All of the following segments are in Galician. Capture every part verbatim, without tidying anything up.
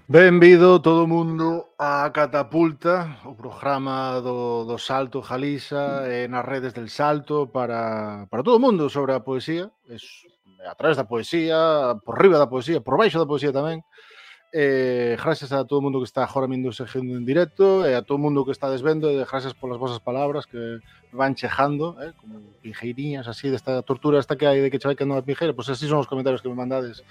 Benvido todo o mundo a Catapulta, o programa do, do Salto Galiza e nas redes del Salto para, para todo o mundo sobre a poesía, es, a través da poesía, por riba da poesía, por baixo da poesía tamén. Eh, gracias a todo o mundo que está agora mindo seguindo en directo e a todo o mundo que está desvendo e gracias polas vosas palabras que van chejando, eh, como pinjeiriñas así desta tortura esta que hai de que che vai quedando a pinjeira, pois pues así son os comentarios que me mandades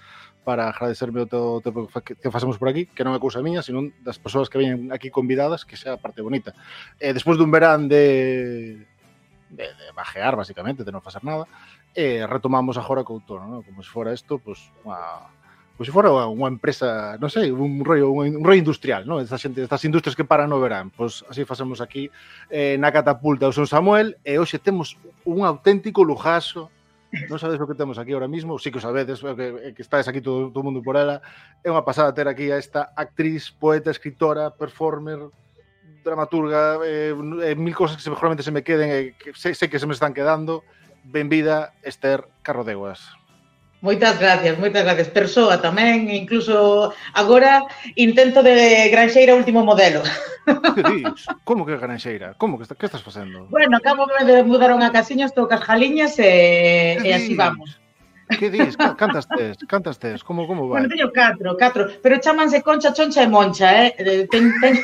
para agradecerme o todo o tempo que, que facemos por aquí, que non é cousa miña, sino das persoas que veñen aquí convidadas, que sea a parte bonita. E despois dun verán de, de, de bajear, basicamente, de non facer nada, e retomamos agora co outono, ¿no? Como se fora isto, pues, unha, pues se fora unha empresa, non sei, un rollo, un, un rollo industrial, ¿no? Esta xente, estas industrias que paran no verán, pues así facemos aquí eh, na Catapulta. Eu son Samuel e hoxe temos un auténtico lujazo. Non sabedes o que temos aquí ahora mismo, sí que o sabedes, que, que estáis aquí todo, todo o mundo por ela. É unha pasada ter aquí a esta actriz, poeta, escritora, performer, dramaturga, eh, eh, mil cosas que seguramente se me queden e que sei, sei que se me están quedando. Benvida, Esther Carrodeguas. Moitas gracias, moitas gracias. Persoa tamén, incluso agora intento de granxeira último modelo. Que dis? Como que granxeira? Como que, está, que estás facendo? Bueno, acabo de mudar unha casiña, estou cas jaliñas e, e así vamos. Que dis? Cantas tes? Cantas tes? Como, como vai? Bueno, teño catro, catro, pero chámanse Concha, Choncha e Moncha, eh? Ten, ten...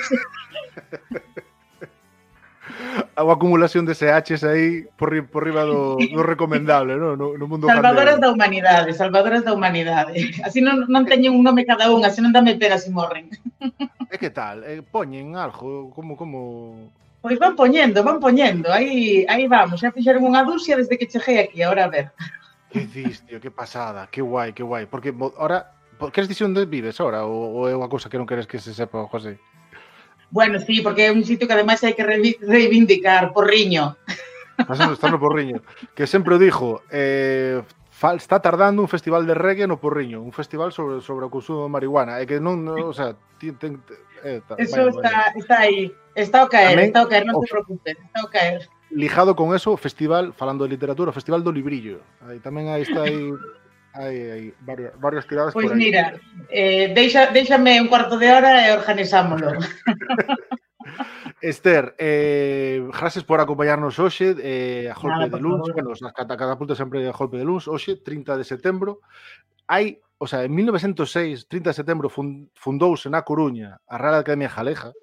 A acumulación de S Hs aí por, ri, por riba do, do recomendable, ¿no? No, no mundo Salvadoras candero. da humanidade, salvadoras da humanidade. Así non, non teñen un nome cada unha, así non dame pena se morren. E que tal? Eh, poñen algo? Como, como... Pois van poñendo, van poñendo. Aí, aí vamos, xa fixeron unha dúcia desde que cheguei aquí, agora a ver. Que dis, tío, que pasada, que guai, que guai. Porque ahora, queres dicir onde vives ahora? Ou, ou é unha cousa que non queres que se sepa, José? Bueno, sí, porque é un sitio que ademais hai que reivindicar, Porriño. Está no Porriño. Que sempre o dixo, eh, está tardando un festival de reggae no Porriño, un festival sobre, sobre o consumo de marihuana. É que non, no, o sea, ten, ten, eh, ta, eso vaya, está, vaya. está aí. Está ao caer, Tamén, está ao caer, non se preocupen, está ao caer. Lijado con eso, festival, falando de literatura, festival do librillo. Aí tamén aí está aí... Hai, hai varios, varios tiradas pois por aí. Pois mira, eh, deixa, déixame un cuarto de hora e organizámoslo. Esther, eh, gracias por acompañarnos hoxe eh, a golpe Nada, de luns, bueno, as catapultas sempre a golpe de luns, hoxe, trinta de setembro. Hai, o sea, en mil novecientos seis, trinta de setembro, fundouse na Coruña a Real Academia Jaleja,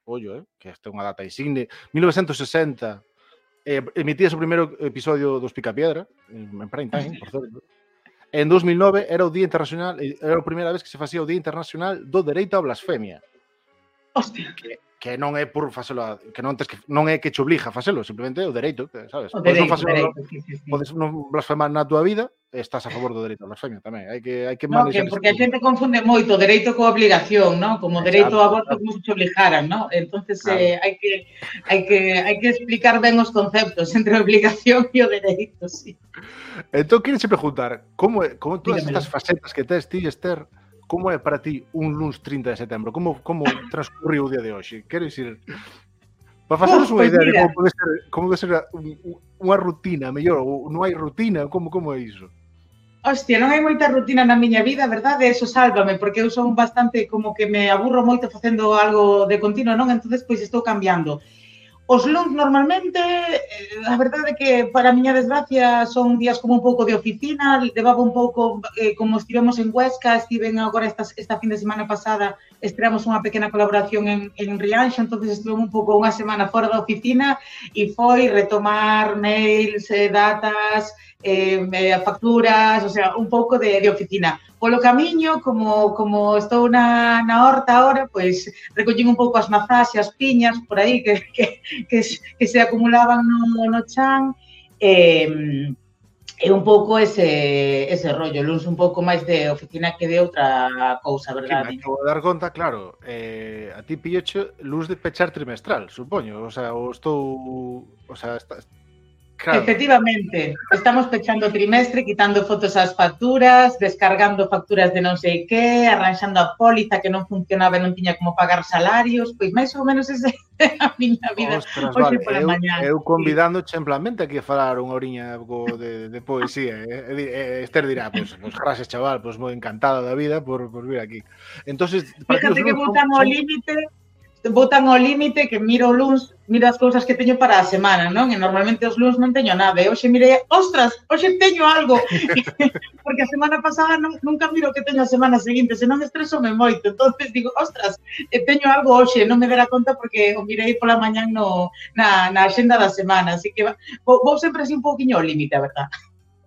ollo, eh, que esta é unha data insigne, mil novecientos sesenta, eh, emitía o primeiro episodio dos Picapiedra, en prime time, por certo. En dos mil nove era o Día Internacional, era a primeira vez que se facía o Día Internacional do Dereito á Blasfemia. Hostia. Que, que non é por facelo, que non tes que non é que che obliga a facelo, simplemente é o dereito, sabes? O dereito, podes non facelo, dereito, sí, sí, sí. Podes non blasfemar na túa vida, estás a favor do dereito á blasfemia tamén. Hai que hai que no, que porque a xente confunde moito dereito coa obligación, ¿no? Como dereito ao aborto como se te obligaran, ¿no? Entonces claro. eh, hai que hai que hai que explicar ben os conceptos entre a obligación e o dereito, sí. Entón, quero che preguntar, como é, como todas estas facetas que tes ti, Esther, como é para ti un luns trinta de setembro? Como como transcurriu o día de hoxe? Quero dicir, para facernos unha idea mira. de como pode ser, como pode ser unha rutina, mellor, ou non hai rutina, como como é iso? Hostia, non hai moita rutina na miña vida, verdade? Eso sálvame, porque eu son bastante como que me aburro moito facendo algo de continuo, non? Entonces, pois estou cambiando. Os luns normalmente, a verdade é que para a miña desgracia son días como un pouco de oficina, levaba un pouco, eh, como estivemos en Huesca, estiven agora esta, esta fin de semana pasada, estreamos unha pequena colaboración en, en Rianxo, entonces estuve un pouco unha semana fora da oficina e foi retomar mails, eh, datas, eh, facturas, o sea, un pouco de, de oficina. Polo camiño, como, como estou na, na horta ahora, pois recollín un pouco as mazás e as piñas por aí que, que, que, que se acumulaban no, no chan e, e un pouco ese, ese rollo, luns un pouco máis de oficina que de outra cousa, verdade? Que me acabo de dar conta, claro, eh, a ti pilloche luz de pechar trimestral, supoño, o sea, ou estou, o sea, está, Claro. Efectivamente, estamos pechando o trimestre, quitando fotos ás facturas, descargando facturas de non sei que, arranxando a póliza que non funcionaba e non tiña como pagar salarios, pois máis ou menos ese é a miña vida Ostras, hoxe vale, pola eu, mañá. eu convidándoche en plan, vente aquí a falar unha oriña co de, de poesía, e, e, e Esther dirá, pois, pues, pues, gracias, chaval, pois pues, moi encantado da vida por, por vir aquí. Entonces, para ti os Fíjate que luns son, botan ao son... límite, botan ao límite que miro o luns, miro as cousas que teño para a semana, non? E normalmente os luns non teño nada. E hoxe mirei, ostras, hoxe teño algo. Porque a semana pasada non, nunca miro que teño a semana seguinte, senón estresome moito. Entonces digo, ostras, teño algo hoxe, non me dera conta porque o mirei pola mañán no, na, na axenda da semana. Así que vou, vou sempre así un pouquiño ao límite, a verdad.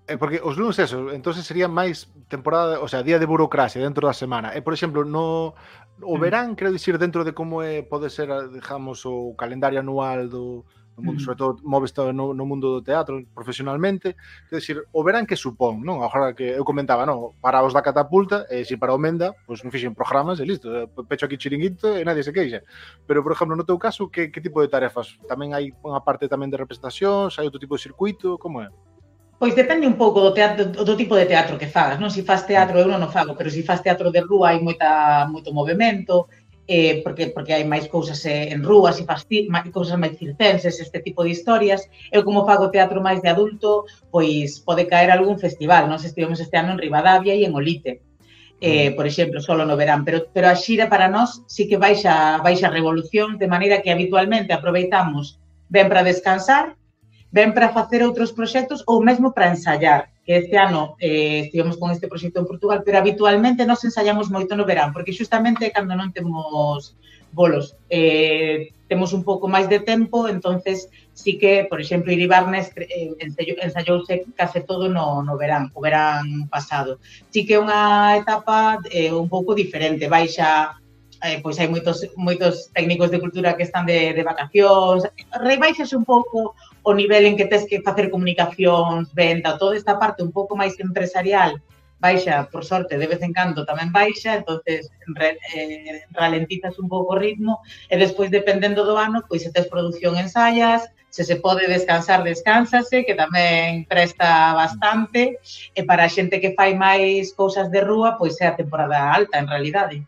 Eh, porque os luns eso, entonces sería máis temporada, o sea, día de burocracia dentro da semana. E, por exemplo, no o verán, quero dicir, dentro de como é, pode ser, digamos, o calendario anual do, do mundo, mm. sobre todo moves no, no mundo do teatro profesionalmente, quero dicir, o verán que supón, non? Agora que eu comentaba, non? Para os da catapulta, e se para o Menda, pois non fixen programas e listo, pecho aquí chiringuito e nadie se queixa. Pero, por exemplo, no teu caso, que, que tipo de tarefas? Tamén hai unha parte tamén de representacións, hai outro tipo de circuito, como é? Pois depende un pouco do teatro, do tipo de teatro que fagas, non? Se faz teatro, eu non o fago, pero se faz teatro de rúa hai moita, moito movimento, eh, porque, porque hai máis cousas en rúa, se faz máis, cousas máis circenses, este tipo de historias. Eu como fago teatro máis de adulto, pois pode caer algún festival, non? Se estivemos este ano en Ribadavia e en Olite, eh, por exemplo, solo no verán, pero, pero a xira para nós sí que baixa, baixa revolución, de maneira que habitualmente aproveitamos ben para descansar, ben para facer outros proxectos ou mesmo para ensaiar, que este ano eh, estivemos con este proxecto en Portugal, pero habitualmente nos ensaiamos moito no verán, porque xustamente cando non temos bolos, eh, temos un pouco máis de tempo, entonces sí que, por exemplo, Iribarnes eh, ensaiouse case todo no, no verán, o verán pasado. Sí que é unha etapa eh, un pouco diferente, baixa Eh, pois hai moitos, moitos técnicos de cultura que están de, de vacacións, rebaixase un pouco o nivel en que tes que facer comunicacións, venta, toda esta parte un pouco máis empresarial, baixa, por sorte, de vez en cando tamén baixa, entonces re, eh, ralentizas un pouco o ritmo, e despois, dependendo do ano, pois se tes produción ensaias, se se pode descansar, descánsase, que tamén presta bastante, e para a xente que fai máis cousas de rúa, pois é a temporada alta, en realidade.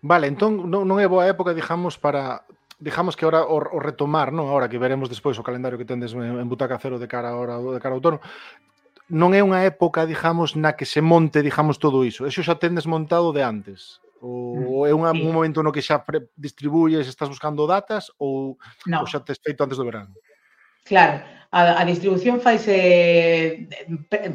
Vale, entón non, non é boa época, digamos, para... Digamos que ahora o, o retomar, non? Ahora que veremos despois o calendario que tendes en, en Butaca Cero de cara ahora de cara ao outono, non é unha época, digamos, na que se monte, digamos, todo iso. Eso xa tendes montado de antes? Ou é unha, sí. un momento no que xa pre- distribuyes, estás buscando datas ou, no. ou xa tes feito antes do verano? Claro, a, a distribución faise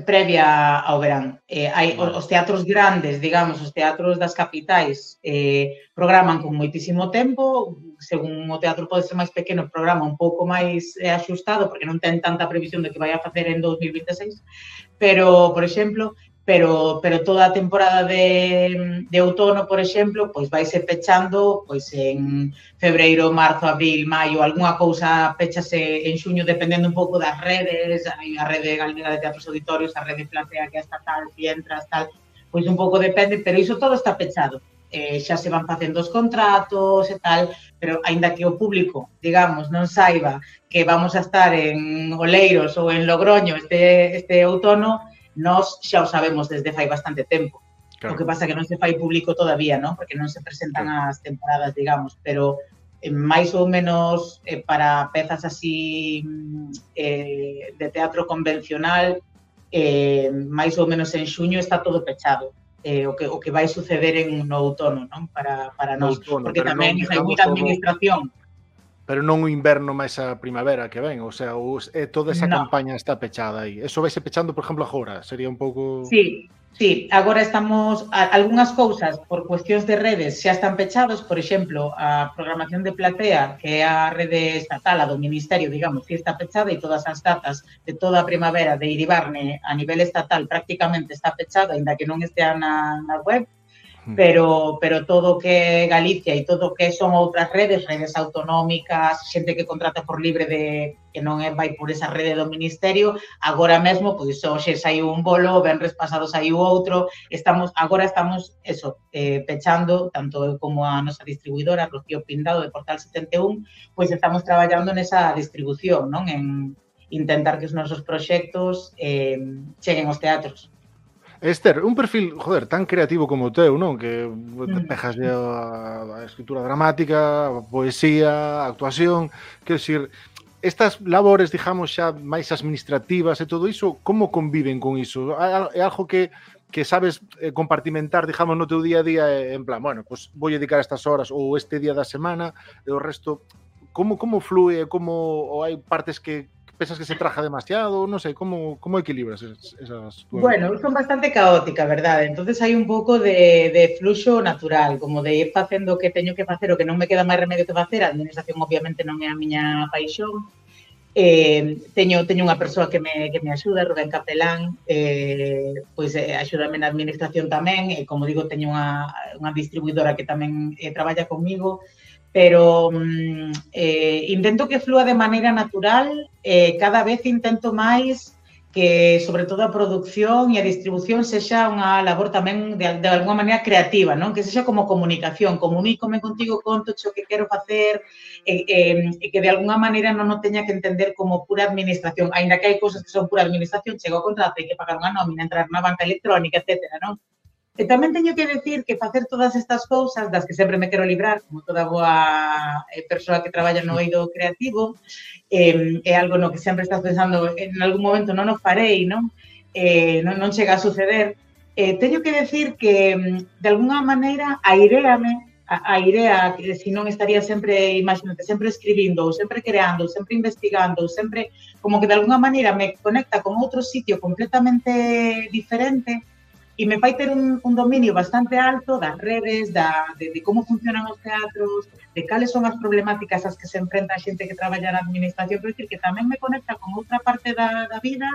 previa ao verán. Eh, hai vale. Os teatros grandes, digamos, os teatros das capitais, eh, programan con moitísimo tempo, según o teatro pode ser máis pequeno, programa un pouco máis eh, axustado, porque non ten tanta previsión de que vai a facer en dos mil vinte e seis, pero, por exemplo, pero, pero toda a temporada de, de outono, por exemplo, pois vaise pechando pois en febreiro, marzo, abril, maio, algunha cousa pechase en xuño, dependendo un pouco das redes, hai a rede galega de teatros auditorios, a rede Platea que é estatal, Fientras, tal, pois un pouco depende, pero iso todo está pechado. Eh, xa se van facendo os contratos e tal, pero aínda que o público, digamos, non saiba que vamos a estar en Oleiros ou en Logroño este, este outono, nós xa o sabemos desde fai bastante tempo. Claro. O que pasa que non se fai público todavía, ¿no? Porque non se presentan claro. as temporadas, digamos, pero eh, máis ou menos eh, para pezas así eh, de teatro convencional, eh, máis ou menos en xuño está todo pechado. Eh, o, que, o que vai suceder en no outono, non? Para, para nós, outono, porque tamén non, hai moita administración. Pero non o inverno máis a primavera que ven, o sea, os, eh, toda esa no. campaña está pechada aí. Eso vaise pechando, por exemplo, agora, sería un pouco... Sí, sí, agora estamos... A, algunhas cousas, por cuestións de redes, xa están pechados, por exemplo, a programación de Platea, que é a rede estatal, a do Ministerio, digamos, que está pechada, e todas as datas de toda a primavera de Iribarne a nivel estatal prácticamente está pechada, ainda que non estea na, na web, pero pero todo que Galicia e todo que son outras redes, redes autonómicas, xente que contrata por libre de que non é vai por esa rede do Ministerio, agora mesmo, pois hoxe saiu un bolo, venres pasado saiu outro, estamos agora estamos eso, eh, pechando, tanto eu como a nosa distribuidora, Rocío Pindado, de Portal setenta e un, pois estamos traballando nesa distribución, non? En intentar que os nosos proxectos eh, cheguen aos teatros. Esther, un perfil, joder, tan creativo como o teu, non? Que pejas a, a escritura dramática, a poesía, a actuación, quero dicir, estas labores, digamos, xa máis administrativas e todo iso, como conviven con iso? É algo que, que sabes compartimentar, digamos, no teu día a día, en plan, bueno, pues vou dedicar estas horas ou este día da semana e o resto, como, como flúe, como, ou hai partes que pensas que se traja demasiado, non sei, como, como equilibras esas, esas tuas... Bueno, son bastante caótica, verdade? Entonces hai un pouco de, de fluxo natural, como de ir facendo o que teño que facer, o que non me queda máis remedio que facer. A administración obviamente non é a miña paixón. Eh, teño, teño unha persoa que me, que me axuda, Rubén Capelán, eh, pois eh, axúdame na administración tamén, e como digo, teño unha, unha distribuidora que tamén eh, traballa comigo, pero eh, intento que flúa de maneira natural, eh, cada vez intento máis que, sobre todo, a produción e a distribución sexa unha labor tamén de, de alguma maneira creativa, non? Que sexa como comunicación, comunícome contigo, conto o que quero facer, e, e, e que de alguna maneira non o teña que entender como pura administración, aínda que hai cousas que son pura administración, chega o contrato, hai que pagar unha nómina, entrar na banca electrónica, etcétera, non? E tamén teño que decir que facer todas estas cousas, das que sempre me quero librar, como toda boa persoa que traballa no eido creativo, eh, é algo no que sempre estás pensando, en algún momento non o farei, non? Eh, non, non chega a suceder. Eh, teño que decir que, de alguna maneira, airéame, a, a idea, que se non estaría sempre, imagínate, sempre escribindo, ou sempre creando, ou sempre investigando, ou sempre, como que de alguna maneira me conecta con outro sitio completamente diferente, e me fai ter un, un dominio bastante alto das redes, da, de, de como funcionan os teatros, de cales son as problemáticas ás que se enfrenta a xente que traballa na administración, pero decir que tamén me conecta con outra parte da, da vida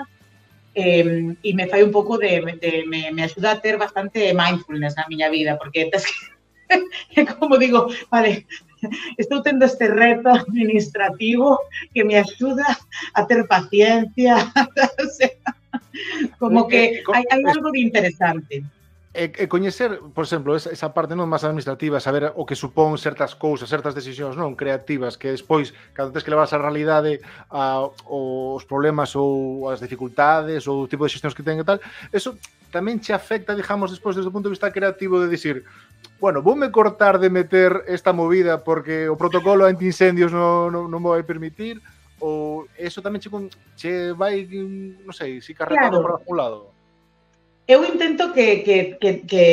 eh, e me fai un pouco de, de me, me axuda a ter bastante mindfulness na miña vida, porque es que, como digo, vale, estou tendo este reto administrativo que me axuda a ter paciencia, o sea, como que hai, hai algo de interesante. E, e coñecer, por exemplo, esa, esa parte non máis administrativa, saber o que supón certas cousas, certas decisións non creativas, que despois, cando tens que levar a realidade a, os problemas ou as dificultades ou o tipo de xestións que ten e tal, eso tamén che afecta, digamos, despois desde o punto de vista creativo de dicir, bueno, voume cortar de meter esta movida porque o protocolo anti-incendios non, non, non me vai permitir, ou eso tamén che, che vai, non sei, si carretado claro. Por algún lado? Eu intento que, que, que, que,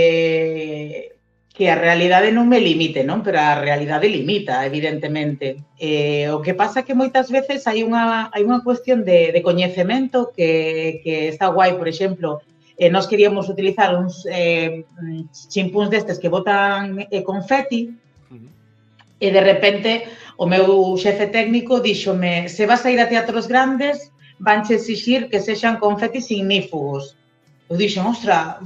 que a realidade non me limite, non? Pero a realidade limita, evidentemente. Eh, o que pasa é que moitas veces hai unha, hai unha cuestión de, de coñecemento que, que está guai, por exemplo, eh, nós queríamos utilizar uns eh, chimpúns destes que botan eh, confeti, uh-huh. E de repente o meu xefe técnico díxome, se vas a ir a teatros grandes, vanche exixir que sexan confetis ignífugos. Eu dixen, ostra,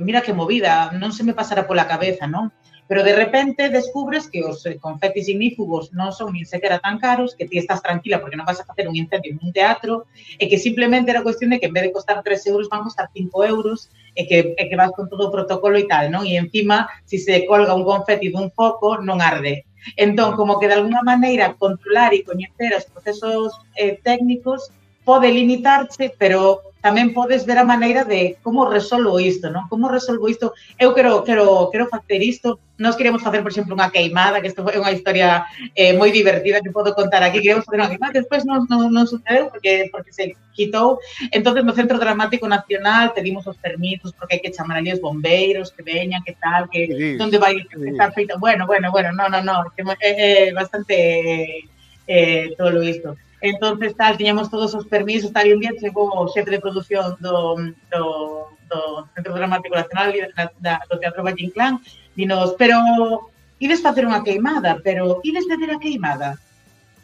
mira que movida, non se me pasará pola cabeza, non? Pero de repente descubres que os confetis ignífugos non son nin sequera tan caros, que ti estás tranquila porque non vas a facer un incendio en un teatro, e que simplemente era cuestión de que en vez de costar tres euros van a costar cinco euros, e que, e que vas con todo o protocolo e tal, non? E encima, se se colga un confeti dun foco, non arde. Entón, como que de alguna maneira controlar e coñecer os procesos eh, técnicos pode limitarse, pero tamén podes ver a maneira de como resolvo isto, non? Como resolvo isto? Eu quero, quero, quero facer isto. Nós queremos facer, por exemplo, unha queimada, que isto é unha historia eh, moi divertida que podo contar aquí. Queremos facer unha queimada que despois non, non, non sucedeu porque, porque se quitou. Entón, no Centro Dramático Nacional pedimos os permisos porque hai que chamar ali os bombeiros, que veñan, que tal, que sí, onde vai sí. Estar feita. Bueno, bueno, bueno, no, no, no, é, é bastante eh, todo isto. Entonces, tal, tiñamos todos os permisos, tal, e un día chegou o xefe de produción do, do, do Centro Dramático Nacional da, da, do Teatro Valle Inclán, dinos, pero ides facer unha queimada, pero ides facer a queimada?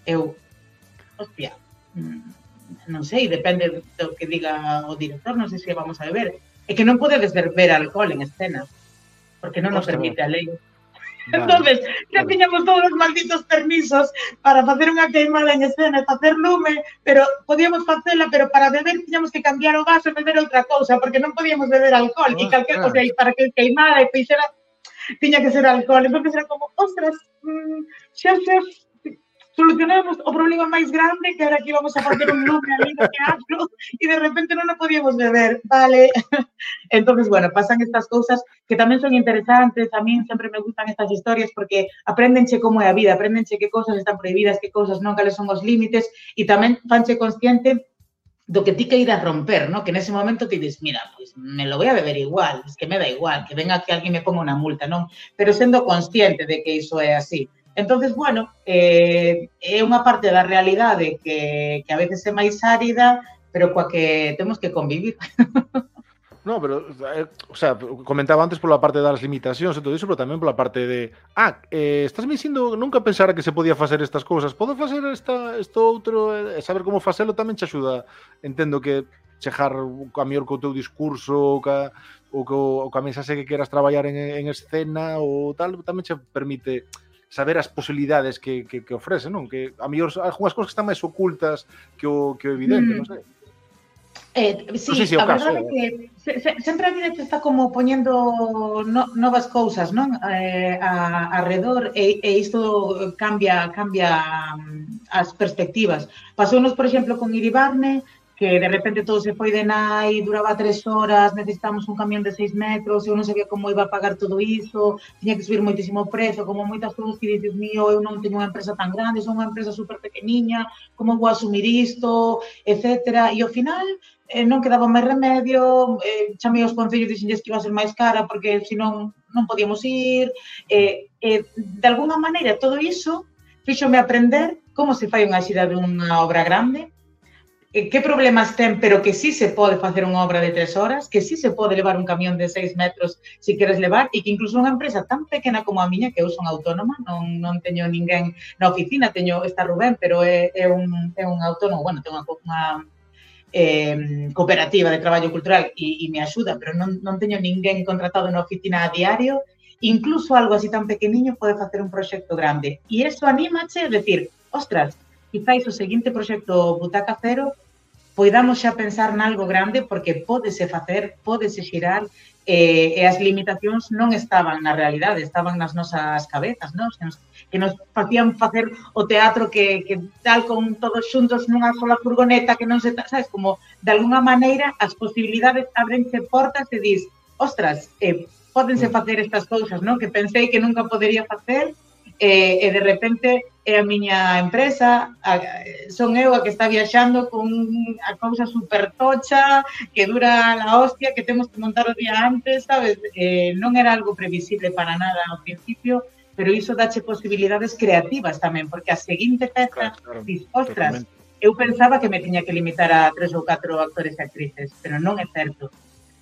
Eu, hostia, non sei, depende do que diga o director, non sei se vamos a beber. É que non podedes beber alcohol en escena, porque non nos permite a lei. Vale. Entonces, xa vale. Tiñamos todos os malditos permisos para facer unha queimada en escena e facer lume, pero podíamos facela, pero para beber tiñamos que cambiar o vaso e beber outra cousa, porque non podíamos beber alcohol, oh, e calquer cosa, claro. Para que queimada e fixera, tiña que ser alcohol. Entón, era como, ostras, mmm, xa, xa, solucionamos o problema máis grande, que era que íbamos a facer un lume ali no teatro e de repente non o podíamos beber, vale. Entonces, bueno, pasan estas cousas que tamén son interesantes, a mí sempre me gustan estas historias porque aprendenche como é a vida, aprendenche que cousas están prohibidas, que cousas non, cales son os límites e tamén fanche consciente do que ti que ir a romper, ¿no? Que nese momento ti dices, mira, pues me lo voy a beber igual, es que me da igual, que venga que alguén me ponga unha multa, non? Pero sendo consciente de que iso é así. Entonces, bueno, eh, é unha parte da realidade que, que a veces é máis árida, pero coa que temos que convivir. No, pero, eh, o sea, comentaba antes pola parte das limitacións e todo iso, pero tamén pola parte de ah, eh, estás me dicindo, nunca pensara que se podía facer estas cousas, podo facer esta, isto outro, e eh, saber como facelo tamén che axuda, entendo que chejar a mellor co teu discurso ou ca, ou co, ou ca mensaxe que queras traballar en, en escena ou tal, tamén che permite saber as posibilidades que, que, que ofrece, non? Que a mellor algunhas cousas que están máis ocultas que o, que o evidente, mm. non sei. Eh, sí, no sé si a verdade é que se, se, sempre a vida te está como poñendo no, novas cousas, non? Eh, a, arredor e, e isto cambia cambia as perspectivas. Pasounos, por exemplo, con Iribarne, que de repente todo se foi de nai, duraba tres horas, necesitamos un camión de seis metros, eu non sabía como iba a pagar todo iso, tiña que subir moitísimo prezo, como moitas cousas que dices, mío, eu non teño unha empresa tan grande, son unha empresa super pequeniña, como vou asumir isto, etcétera. E ao final eh, non quedaba máis remedio, eh, chamei aos concellos e dixenlles que iba a ser máis cara porque senón non podíamos ir. Eh, eh, de alguna maneira, todo iso fíxome aprender como se fai unha xira dunha obra grande, que problemas ten, pero que sí se pode facer unha obra de tres horas, que sí se pode levar un camión de seis metros se queres levar, e que incluso unha empresa tan pequena como a miña, que eu son autónoma, non, non teño ninguén na oficina, teño está Rubén, pero é, é, un, é un autónomo, bueno, ten unha, unha eh, cooperativa de traballo cultural e, e me axuda, pero non, non teño ninguén contratado na oficina a diario, incluso algo así tan pequeniño pode facer un proxecto grande. E iso anímache a decir, ostras, quizáis o seguinte proxecto Butaca Cero poidamos xa pensar nalgo grande porque pódese facer, pódese xirar eh, e as limitacións non estaban na realidade, estaban nas nosas cabezas, non? Que nos, que nos facían facer o teatro que, que tal con todos xuntos nunha sola furgoneta que non se... Sabes, como de alguna maneira as posibilidades abrense portas e dis, ostras, eh, pódense facer estas cousas, non? Que pensei que nunca podería facer e, e de repente é a miña empresa, a, son eu a que está viaxando con a cousa super tocha, que dura la hostia, que temos que montar o día antes, sabes? Eh, non era algo previsible para nada ao principio, pero iso dache posibilidades creativas tamén, porque a seguinte peza, claro, claro, dis, ostras, totalmente. Eu pensaba que me tiña que limitar a tres ou catro actores e actrices, pero non é certo.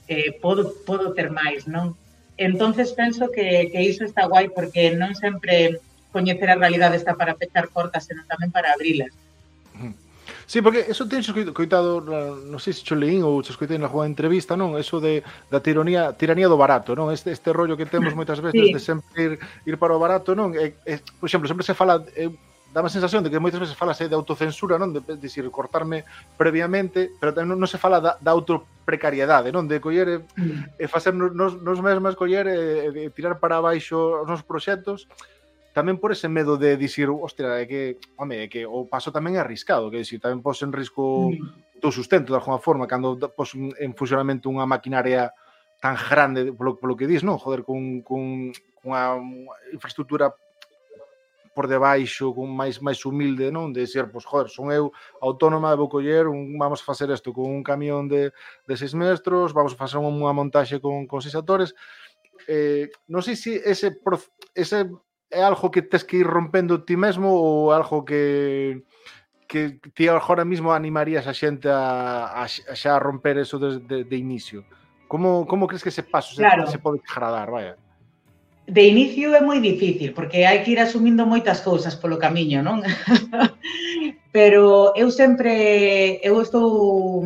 Eh, podo, podo ter máis, non? Entonces penso que, que iso está guai, porque non sempre coñecer a realidade está para pechar portas, senón tamén para abrilas. Sí, porque eso teño coitado, non sei se cho leín ou cho escoitei na alguna entrevista, non? Eso de da tiranía, tiranía do barato, non? Este este rollo que temos moitas veces sí. de sempre ir, ir para o barato, non? E, e, por exemplo, sempre se fala, e, dá a sensación de que moitas veces falase de autocensura, non? De, de decir, cortarme previamente, pero non, non se fala da, da autoprecariedade, non? De coller e, mm. e facer nos, nos mesmas, coller e, e tirar para baixo os nosos proxectos, tamén por ese medo de dicir, hostia, é que, home, é que o paso tamén é arriscado, que dicir, tamén pos en risco mm. do sustento de alguma forma, cando pos en funcionamento unha maquinaria tan grande, polo, polo que dis, non? Joder, con, con, con unha infraestructura por debaixo, con máis máis humilde, non? De dicir, pois, joder, son eu autónoma, vou coller, un, vamos a facer isto con un camión de, de seis metros, vamos a facer unha montaxe con, con seis actores. Eh, non sei se ese, ese é algo que tes que ir rompendo ti mesmo ou algo que que ti agora mismo animarías a xente a, a, a xa romper eso de, de, de inicio? Como, como crees que ese paso claro. se, se pode agradar, vaya? De inicio é moi difícil, porque hai que ir asumindo moitas cousas polo camiño, non? Pero eu sempre, eu estou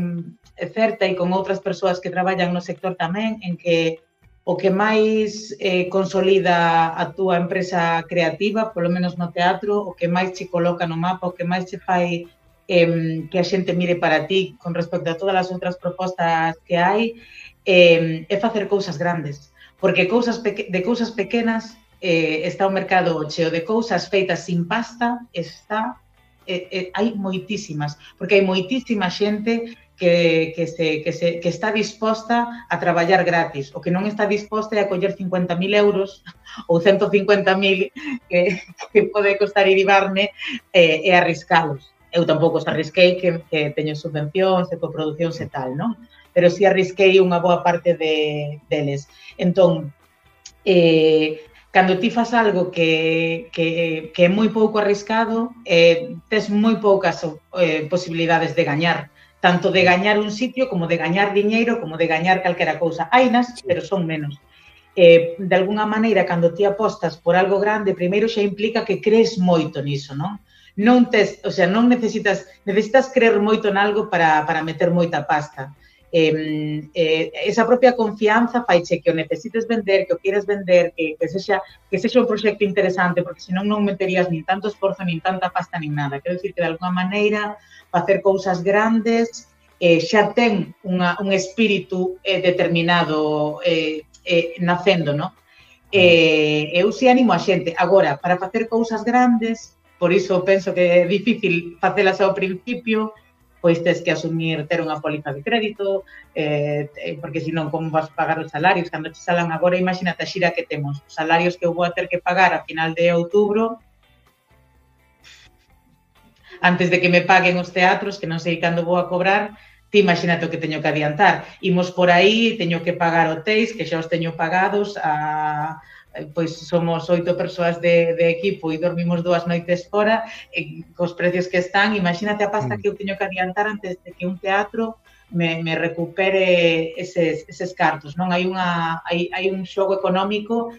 certa e con outras persoas que traballan no sector tamén, en que o que máis eh, consolida a túa empresa creativa, polo menos no teatro, o que máis che coloca no mapa, o que máis che fai eh, que a xente mire para ti con respecto a todas as outras propostas que hai, eh, é facer cousas grandes. Porque cousas de cousas pequenas eh, está o mercado cheo de cousas feitas sin pasta, está, eh, eh, hai moitísimas, porque hai moitísima xente que, que, se, que, se, que está disposta a traballar gratis, o que non está disposta é a coller cincuenta mil euros ou ciento cincuenta mil que, que pode costar iribarme eh, e arriscalos. Eu tampouco os arrisquei, que, que teño subvencións e coproduccións e tal, non? Pero si arrisquei unha boa parte de, deles. Entón, eh, cando ti fas algo que, que, que é moi pouco arriscado, eh, tes moi poucas eh, posibilidades de gañar. Tanto de gañar un sitio, como de gañar diñeiro, como de gañar calquera cousa. Hainas, pero son menos. Eh, de alguna maneira, cando ti apostas por algo grande, primeiro xa implica que crees moito niso, non? Non tes, o sea, non necesitas, necesitas creer moito en algo para, para meter moita pasta. Eh, eh, esa propia confianza faiche que o necesites vender, que o quieres vender, que, que, sexa, que sexa un proxecto interesante, porque senón non meterías nin tanto esforzo, nin tanta pasta, nin nada. Quero dicir que, de alguna maneira, facer cousas grandes eh, xa ten unha, un espírito eh, determinado eh, eh, nacendo, non? Eh, eu si animo a xente. Agora, para facer cousas grandes, por iso penso que é difícil facelas ao principio, pois tes que asumir ter unha póliza de crédito, eh, porque senón como vas pagar os salarios, cando te salan agora, imagínate a xira que temos, os salarios que eu vou a ter que pagar a final de outubro, antes de que me paguen os teatros, que non sei cando vou a cobrar, ti imagínate o que teño que adiantar. Imos por aí, teño que pagar hotéis, que xa os teño pagados, a... pois somos oito persoas de, de equipo e dormimos dúas noites fora, e cos precios que están, imagínate a pasta que eu teño que adiantar antes de que un teatro me, me recupere eses, eses cartos, non? Hai, unha, hai, hai un xogo económico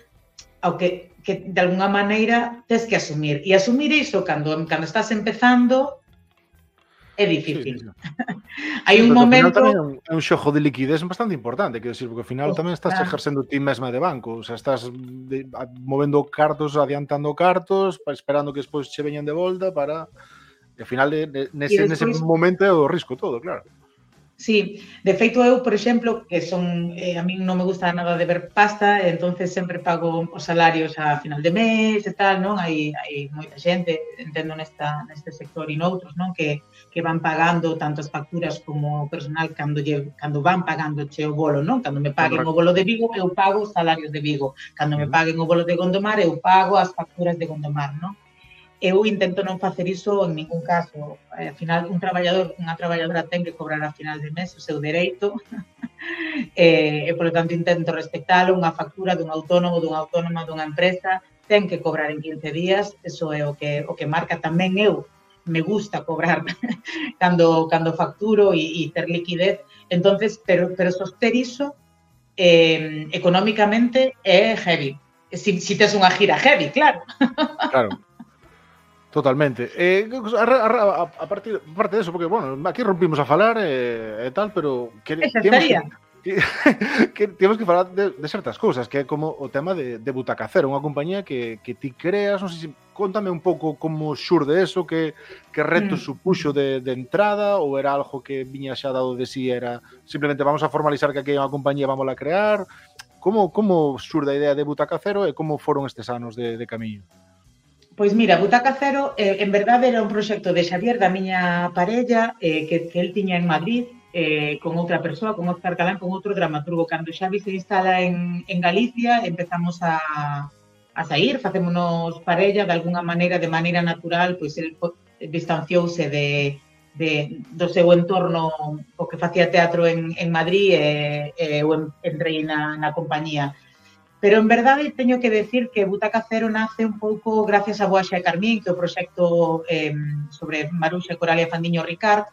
ao que, que de alguna maneira tes que asumir. E asumir iso cando, cando estás empezando é difícil. Sí, sí. Hai un momento... Tamén é un, é un xogo de liquidez bastante importante, quero dicir, porque ao final tamén estás exercendo ti mesma de banco, o sea, estás de, a, movendo cartos, adiantando cartos, pa, esperando que despois che veñan de volta para... E ao final, de, de, nese, despois... nese momento é o risco todo, claro. Sí, de feito eu, por exemplo, que son, eh, a mí non me gusta nada de ver pasta, entonces sempre pago os salarios a final de mes e tal, non? Hai, hai moita xente, entendo nesta, neste sector e noutros, non? Que, que van pagando tanto as facturas como o personal cando, lle, cando van pagando che o bolo, non? Cando me paguen o bolo de Vigo, eu pago os salarios de Vigo. Cando me paguen o bolo de Gondomar, eu pago as facturas de Gondomar, non? Eu intento non facer iso en ningún caso. Al final, un traballador, unha traballadora ten que cobrar a final de mes o seu dereito e, e, polo tanto, intento respectalo. Unha factura dun autónomo, dunha autónoma, dunha empresa, ten que cobrar en quince días. Eso é o que, o que marca tamén eu. Me gusta cobrar cando, cando facturo e, e ter liquidez. Entonces, pero, pero soster iso eh, económicamente é heavy. Si, si tes unha gira heavy, claro. Claro. Totalmente. Eh, a, a, a, partir, a parte de eso, porque, bueno, aquí rompimos a falar e eh, eh, tal, pero... Que, Esa estaría. Que, que, que temos que falar de, de certas cousas, que é como o tema de, de Butaca Cero, unha compañía que, que ti creas, non sei se... Contame un pouco como xurde eso, que, que reto mm. supuxo de, de entrada, ou era algo que viña xa dado de si, era simplemente vamos a formalizar que aquí hai unha compañía, vamos a crear... Como, como xurde a idea de Butaca Cero e como foron estes anos de, de camiño? Pois mira, Butaca Cero, eh, en verdade, era un proxecto de Xavier, da miña parella, eh, que, que el tiña en Madrid, eh, con outra persoa, con Óscar Calán, con outro dramaturgo. Cando Xavi se instala en, en Galicia, empezamos a, a sair, facémonos parella, de alguna maneira, de maneira natural, pois el distanciouse de, de, do seu entorno, o que facía teatro en, en Madrid, e, e eu entrei na, na compañía. Pero, en verdade, teño que decir que Butaca Cero nace un pouco gracias a Boaxa e Carmín, que é o proxecto eh, sobre Maruxa e Coralia Fandiño Ricard,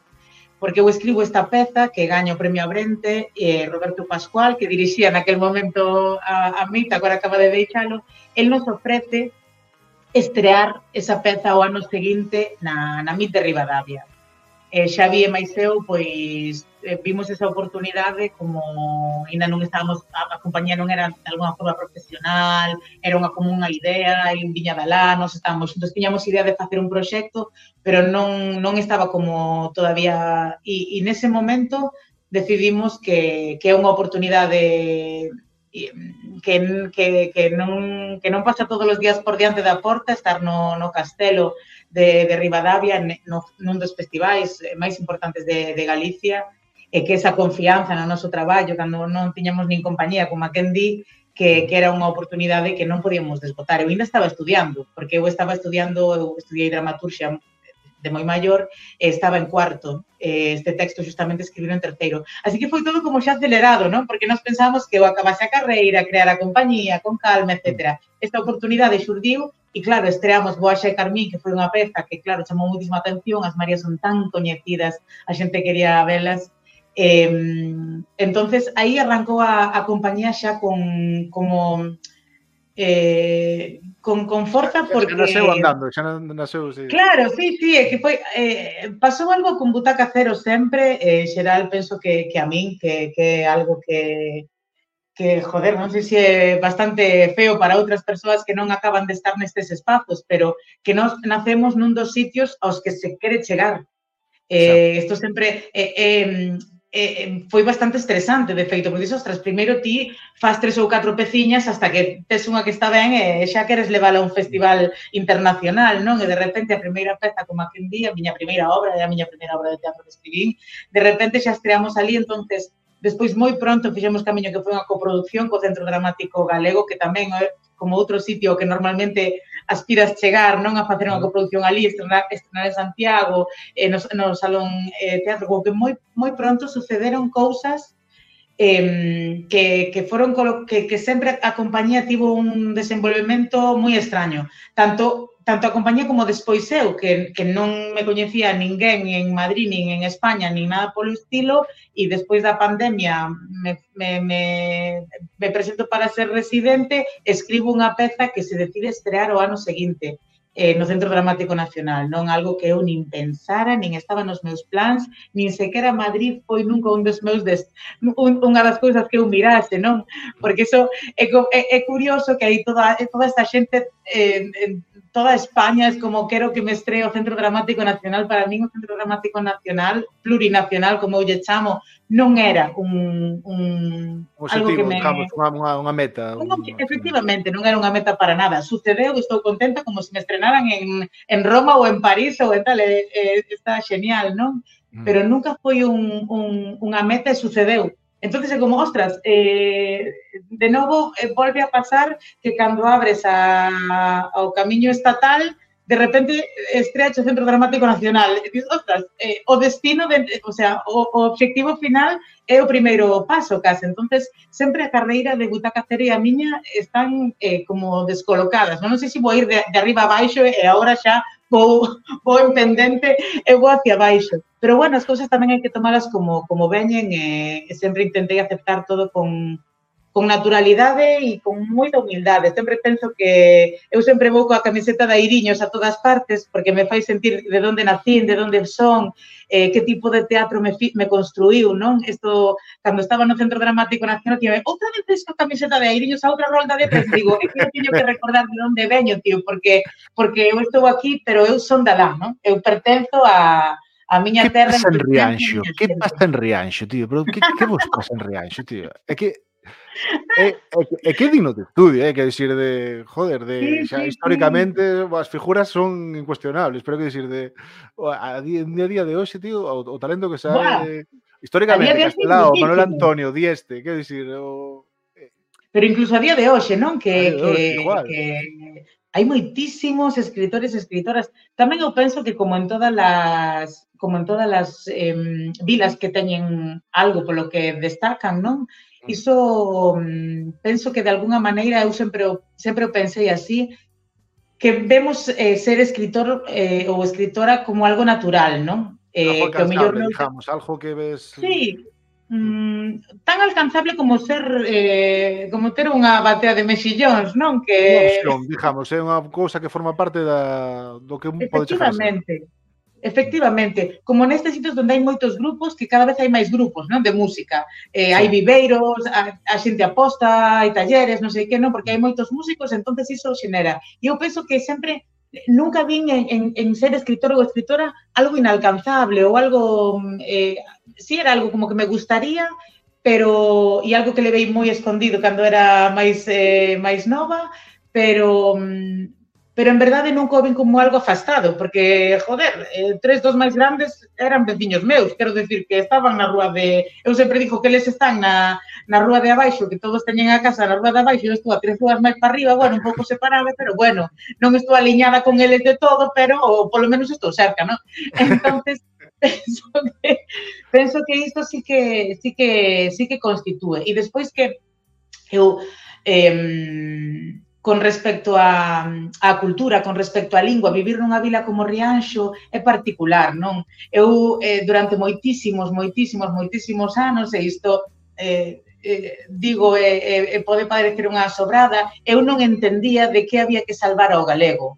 porque eu escribo esta peza que gaña o premio Abrente, e Roberto Pascual, que dirixía naquel momento a, a mí, agora acaba de deixalo, el nos ofrece estrear esa peza o ano seguinte na, na M I T de Ribadavia. Eh, Xavi e máis eu, pois, eh, vimos esa oportunidade como ainda non estábamos, a, a compañía non era de alguna forma profesional, era unha como unha idea, e viña de alá, nos estábamos xuntos, tiñamos idea de facer un proxecto, pero non, non estaba como todavía, e, e nese momento decidimos que, que é unha oportunidade que, que, que, non, que non pasa todos os días por diante da porta, estar no, no castelo de, de Ribadavia, no, nun dos festivais máis importantes de, de Galicia, e que esa confianza no noso traballo, cando non tiñamos nin compañía, como a quen di, que, que era unha oportunidade que non podíamos desbotar. Eu ainda estaba estudiando, porque eu estaba estudiando, eu estudiei dramaturxia de moi maior, e estaba en cuarto. Este texto justamente escribino en terceiro. Así que foi todo como xa acelerado, non? Porque nós pensábamos que eu acabase a carreira, crear a compañía, con calma, etcétera. Esta oportunidade xurdiu, e claro, estreamos Boaxa e Carmín, que foi unha peza que, claro, chamou muitísima atención, as Marías son tan coñecidas, a xente quería velas. Eh, entonces, aí arrancou a, a compañía xa con, como... Eh, con, con forza porque... Xa naseu andando, xa naseu... Sí. Claro, sí, sí, é que foi... Eh, pasou algo con Butaca Cero sempre, eh, xeral, penso que, que a min, que, que é algo que, que, joder, non sei se é bastante feo para outras persoas que non acaban de estar nestes espazos, pero que nós nacemos nun dos sitios aos que se quere chegar. Eh, isto sempre... Eh, eh, Eh, foi bastante estresante, de feito, porque dixo, ostras, primeiro ti faz tres ou catro peciñas hasta que tes unha que está ben e xa queres levala a un festival internacional, non? E de repente a primeira peza, como aquel día, a miña primeira obra, a miña primeira obra de teatro que escribín, de repente xa estreamos ali, entonces, despois moi pronto fixemos camiño que foi unha coproducción co Centro Dramático Galego, que tamén é como outro sitio que normalmente aspiras chegar, non, a facer unha coproducción ali, estrenar, estrenar en Santiago, eh, no, no Salón eh, Teatro, como que moi, moi pronto sucederon cousas eh, que, que foron que, que sempre a compañía tivo un desenvolvemento moi extraño, tanto tanto a compañía como despois eu, que, que non me coñecía ninguén en Madrid, nin en España, nin nada polo estilo, e despois da pandemia me, me, me, me presento para ser residente, escribo unha peza que se decide estrear o ano seguinte eh, no Centro Dramático Nacional, non algo que eu nin pensara, nin estaba nos meus plans, nin sequera Madrid foi nunca un dos meus des, un, unha das cousas que eu mirase, non? Porque iso é, é, é curioso que aí toda, toda esta xente eh, toda España es como quero que me estree o Centro Dramático Nacional. Para min o Centro Dramático Nacional, plurinacional, como eu lle chamo, non era un... un objetivo, algo que me... digamos, unha, unha meta. Un, efectivamente, non era unha meta para nada. Sucedeu, estou contenta, como se me estrenaran en, en Roma ou en París ou en tal, eh, eh, está genial, non? Mm. Pero nunca foi un, un, unha meta e sucedeu. Entonces é como, ostras, eh, de novo eh, volve a pasar que cando abres a, ao camiño estatal, de repente estrea o Centro Dramático Nacional. E dices, ostras, eh, o destino, de, o sea, o, o objetivo final é o primeiro paso, case. Entonces, sempre a carreira de Butaca Cero e a miña están eh, como descolocadas. Non, non sei se vou ir de, de arriba a baixo e agora xa vou, vou en pendente e vou hacia baixo. Pero, bueno, as cousas tamén hai que tomalas como, como veñen e, e sempre intentei aceptar todo con, con naturalidade e con moita humildade. Sempre penso que eu sempre vou coa camiseta de Airiños a todas partes porque me fai sentir de onde nacín, de onde son, eh, que tipo de teatro me, fi, me construiu, non? Isto, cando estaba no Centro Dramático Nacional, tío, outra vez coa camiseta de Airiños a outra rolda de pez, digo, é que eu teño que recordar de onde veño, tío, porque porque eu estou aquí, pero eu son da lá, non? Eu pertenzo a a miña terra. Que pasa en Rianxo? Que pasa en Rianxo, tío? Pero que, que vos pasa en Rianxo, tío? É que É, é, é que é digno de estudio, é que decir de, joder, de, sí, xa, sí, históricamente sí. As figuras son incuestionables, pero que decir de a día, a día de hoxe, tío, o, o talento que sae históricamente, Castelao, Manuel Antonio, Dieste, que decir, o eh. Pero incluso a día de hoxe, non? Que, que, que hai moitísimos escritores e escritoras. Tamén eu penso que como en todas as como en todas as eh, vilas que teñen algo polo que destacan, non? Iso penso que de alguna maneira eu sempre sempre pensei así, que vemos eh, ser escritor eh, ou escritora como algo natural, non? Eh, algo alcanzable, que, digamos, algo que ves... Sí, mmm, tan alcanzable como ser, eh, como ter unha batea de mexillóns, non? Que... Unha opción, digamos, é unha cousa que forma parte da, do que pode chegar a ser. Efectivamente. Efectivamente, como nestes sitios onde hai moitos grupos, que cada vez hai máis grupos, non, de música. Eh, hai viveiros, a, a xente aposta, hai talleres, non sei que, non, porque hai moitos músicos, entonces iso xenera. E eu penso que sempre, nunca vin en, en, en ser escritor ou escritora algo inalcanzable ou algo, eh, si era algo como que me gustaría, pero e algo que levei moi escondido cando era máis eh, máis nova, pero pero en verdade nunca o vin como algo afastado, porque, joder, eh, tres dos máis grandes eran veciños meus, quero decir que estaban na rúa de... Eu sempre digo que eles están na, na rúa de abaixo, que todos teñen a casa na rúa de abaixo, eu estou a tres rúas máis para arriba, bueno, un pouco separada, pero bueno, non estou aliñada con eles de todo, pero ou, polo menos estou cerca, non? Entonces, penso que, penso que isto sí que, sí que, sí que constitúe. E despois que eu... Eh, con respecto á cultura, con respecto á lingua, vivir nunha vila como Rianxo é particular, non? Eu, eh, durante moitísimos, moitísimos, moitísimos anos, e isto eh, eh, digo, e eh, eh, pode parecer unha sobrada, eu non entendía de que había que salvar ao galego.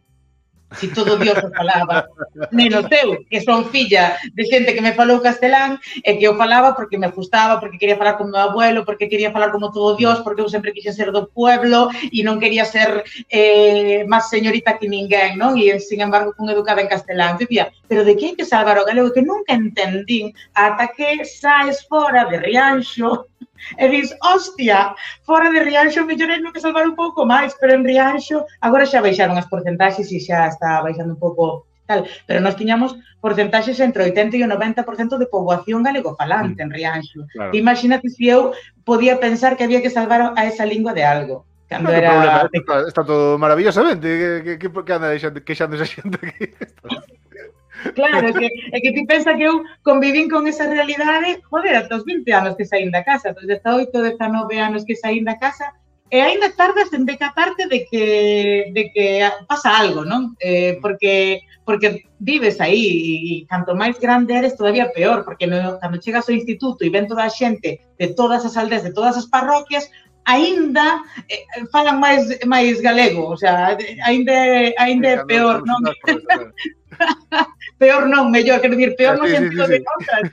Si todo Dios o falaba, menos eu, que son filla de xente que me falou castelán e que eu falaba porque me gustaba, porque quería falar como meu abuelo, porque quería falar como todo Dios, porque eu sempre quixen ser do pueblo e non quería ser eh, máis señorita que ninguén, non? E, sin embargo, fun educada en castelán. Dicía, pero de que hai que salvar o galego? Que nunca entendín ata que saes fora de Rianxo e dis, hostia, fora de Rianxo mellor hai que salvar un pouco máis, pero en Rianxo agora xa baixaron as porcentaxes e xa está baixando un pouco tal, pero nós tiñamos porcentaxes entre o oitenta e o noventa por cento de poboación galegofalante en Rianxo. Claro. Imagínate se eu podía pensar que había que salvar a esa lingua de algo. Cando no, era... problema, está, está todo maravillosamente, que, que, que anda queixando esa xente aquí. Claro, é que, é que ti pensa que eu convivín con esa realidade, joder, ata os vinte anos que saín da casa, dos dezaoito, dezanove anos que saín da casa, e aínda tardas en decatarte de que, de que pasa algo, non? Eh, porque, porque vives aí, e canto máis grande eres, todavía peor, porque no, cando chegas ao instituto e ven toda a xente de todas as aldeas, de todas as parroquias, aínda eh, falan máis máis galego, o sea, aínda aínda é peor, non? Peor non, mellor, quero dicir, peor no sentido de cosas.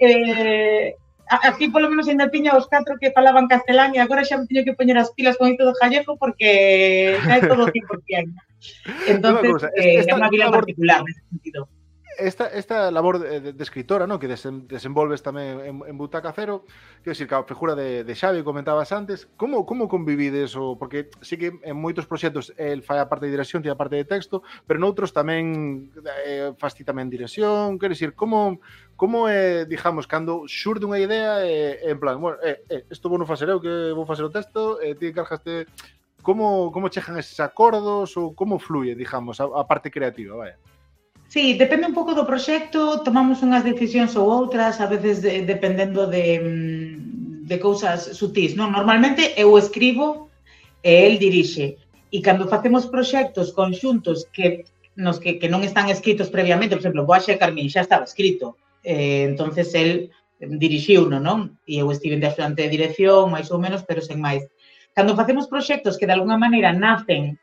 Eh, aquí, polo menos, ainda tiña os catro que falaban castelán e agora xa me teño que poñer as pilas con isto do gallego porque xa é todo cien por cien. Entonces, é unha vila particular nese sentido. Esta, esta labor de, de escritora, ¿no? Que desen, desenvolves tamén en, en Butaca Cero, quero dicir, que a figura de, de Xavi comentabas antes, como, como convivides? O, porque sí que en moitos proxectos el fai a parte de dirección, tiene a parte de texto, pero noutros tamén eh, faz ti tamén dirección, quero dicir, como, como é, eh, digamos, cando xurde unha idea, eh, en plan, bueno, eh, eh, isto vou non facer eu, que vou facer o texto, eh, ti encargaste, como, como chejan eses acordos, ou como fluye, digamos, a, a parte creativa, vaya? Sí, depende un pouco do proxecto, tomamos unhas decisións ou outras, a veces de, dependendo de, de cousas sutís, non? Normalmente eu escribo e el dirixe. E cando facemos proxectos conxuntos que, nos que, que non están escritos previamente, por exemplo, Boaxe e Carmín xa estaba escrito, eh, entonces el dirixiuno, non? E eu estive de axudante de dirección, máis ou menos, pero sen máis. Cando facemos proxectos que de alguna maneira nacen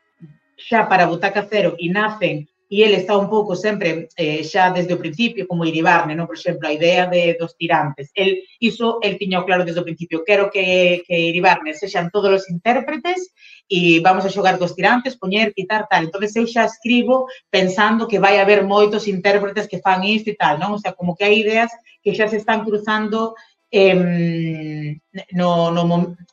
xa para Butaca Cero e nacen e ele está un pouco sempre eh, xa desde o principio, como Iribarne, non? Por exemplo, a idea de, dos tirantes. El, iso, el tiño claro desde o principio. Quero que, que Iribarne sexan todos os intérpretes e vamos a xogar cos tirantes, poñer, quitar, tal. Entón, eu xa escribo pensando que vai haber moitos intérpretes que fan isto e tal, non? O sea, como que hai ideas que xa se están cruzando eh, no, no,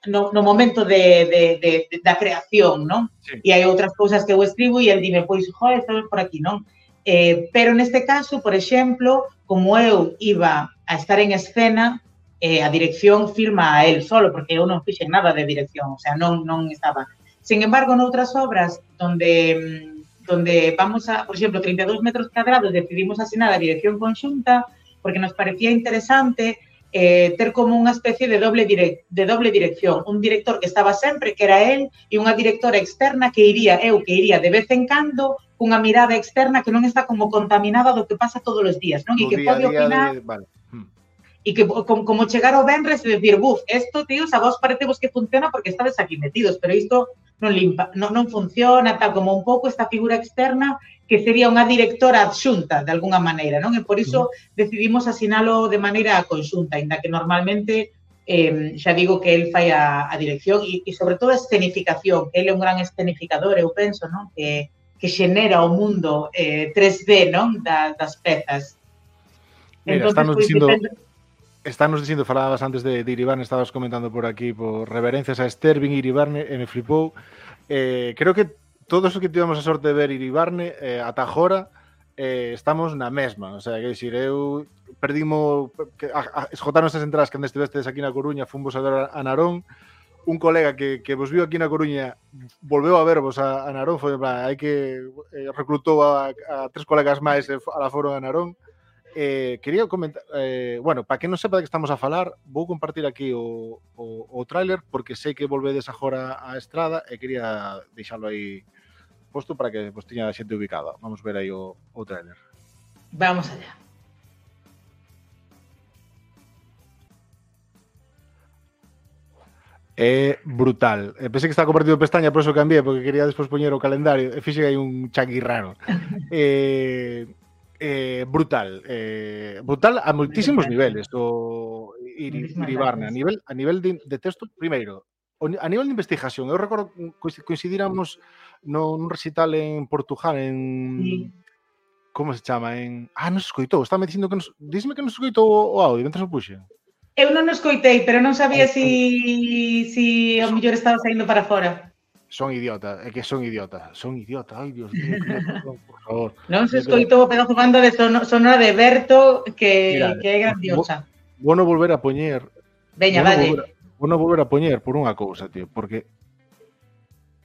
no, no momento de, de, de, de, da creación, non? Sí. E hai outras cousas que eu escribo e el dime, pois, joder, estamos por aquí, non? Eh, pero neste caso, por exemplo, como eu iba a estar en escena, eh, a dirección firma a él solo, porque eu non fixen nada de dirección, o sea, non, non estaba. Sin embargo, noutras obras donde, donde vamos a, por exemplo, treinta e dous metros cuadrados, decidimos asinar a dirección conxunta, porque nos parecía interesante Eh, ter como unha especie de doble, direc de doble dirección. Un director que estaba sempre, que era él, e unha directora externa que iría, eu, que iría de vez en cando, cunha mirada externa que non está como contaminada do que pasa todos os días, non? E que pode opinar... De... Vale. E que como, como chegar ao venres e decir, buf, esto, tíos, a vos parece vos que funciona porque estades aquí metidos, pero isto non, limpa, non, non funciona, tal como un pouco esta figura externa que sería unha directora adxunta, de alguna maneira, non? E por iso uh-huh. decidimos asinalo de maneira conxunta, ainda que normalmente, eh, xa digo que el fai a, a dirección e, e sobre todo a escenificación, que ele é un gran escenificador, eu penso, non? Que, que xenera o mundo eh, tres D, non? Da, das pezas. Mira, entón, están pues, dicindo... Depende... Estános dicindo, falabas antes de, de Iribarne, estabas comentando por aquí, por reverencias a Esther, vin Iribarne e me flipou. Eh, creo que todos os que tivemos a sorte de ver Iribarne, eh, ata agora, eh, estamos na mesma. O sea, que dicir, eu perdimo, que, a, a, esgotaron esas entradas que antes estivestes aquí na Coruña, fomos a ver a Narón. Un colega que, que vos viu aquí na Coruña volveu a vervos a, a Narón, foi, hai que eh, reclutou a, a tres colegas máis e a la foron a Narón. Eh, quería comentar, eh, bueno, para que non sepa de que estamos a falar, vou compartir aquí o, o, o tráiler porque sei que volvedes agora á estrada e quería deixalo aí posto para que vos tiña a xente ubicada. Vamos ver aí o, o tráiler. Vamos allá. É brutal. E pensei que estaba compartido pestaña, por eso cambié, porque quería despois poñer o calendario e fixe aí un changui raro. Eh... Eh, brutal, eh, brutal a moitísimos niveles o Iri, Iribarne, a nivel, a nivel de, de texto, primeiro, a nivel de investigación, eu recordo coincidíramos no, nun recital en Portugal, en... Sí. Como se chama? En... Ah, non se escoitou, está me dicindo que nos... Dísme que non se escoitou o audio, mentre se puxe. Eu non nos escoitei, pero non sabía si, si o mellor estaba saindo para fora. Son idiota, é que son idiota, son idiota, ai Dios mío, por favor. Non se escoitou o pedazo banda de sonora de Berto que, Mira, que é grandiosa. Vou non volver a poñer. Veña, dalle. Vou non volver a poñer por unha cousa, tío, porque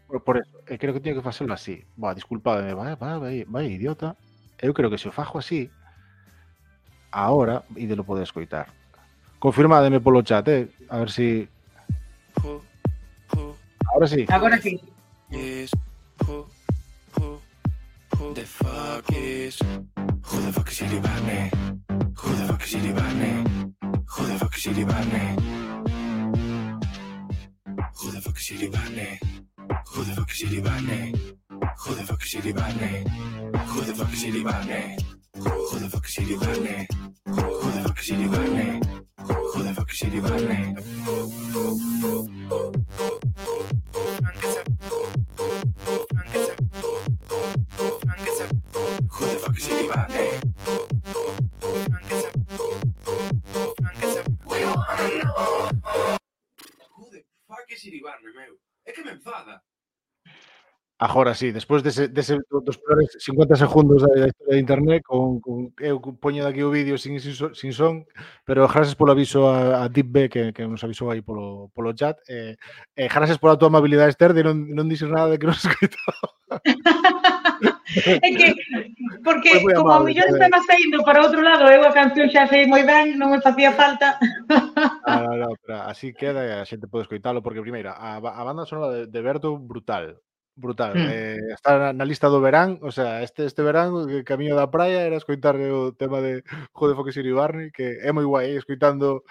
por, por eso, e creo que teño que facelo así. Va, disculpademe, vai, vai, vai, vai, idiota. Eu creo que se o fajo así, ahora, e de lo poder escoitar. Confirmádeme polo chat, eh, a ver si... Ahora sí. Ahora sí. Yes. Who, who, who the fuck is? Who the fuck is Iribarne? Who the fuck is Iribarne? Who the fuck is Iribarne? Who the fuck is Iribarne? Who the fuck is Iribarne? Who the fuck is Iribarne? Who the fuck is Iribarne? Who the fuck is Iribarne? Who the fuck is Iribarne? Who the fuck is Iribarne? Iribarne, meu. É que me enfada. Agora sí, despois dese, dese dos peores cincuenta segundos da historia de internet con, con eu poño aquí o vídeo sin, sin, sin son, pero gracias polo aviso a, a Deep B que, que nos avisou aí polo, polo chat e eh, eh, gracias pola tua amabilidade, Esther, de non, non dixer nada de que non se escoitaba. É que, porque como a millón estaba saindo para outro lado, eu a canción xa sei moi ben, non me facía falta. Ah, no, no, pero así queda e a xente pode escoitalo, porque primeira, a, a banda sonora de, de Berto, brutal. Brutal. Mm. Eh, está na lista do verán, o sea, este este verán o camiño da praia era escoitar o tema de Who the fuck is Iribarne, que é moi guai, eh, escoitando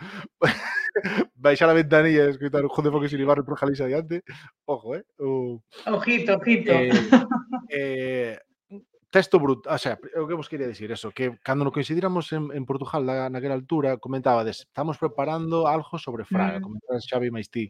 baixar a ventanilla e escoitar Who the fuck is Iribarne por Galicia adiante. Ojo, eh. O, ojito, ojito. Eh, eh, texto brutal, o sea, o que vos quería dicir eso, que cando nos coincidíramos en, en Portugal na, naquela altura, comentabades, estamos preparando algo sobre Fraga, mm. comentabas Xavi máis ti.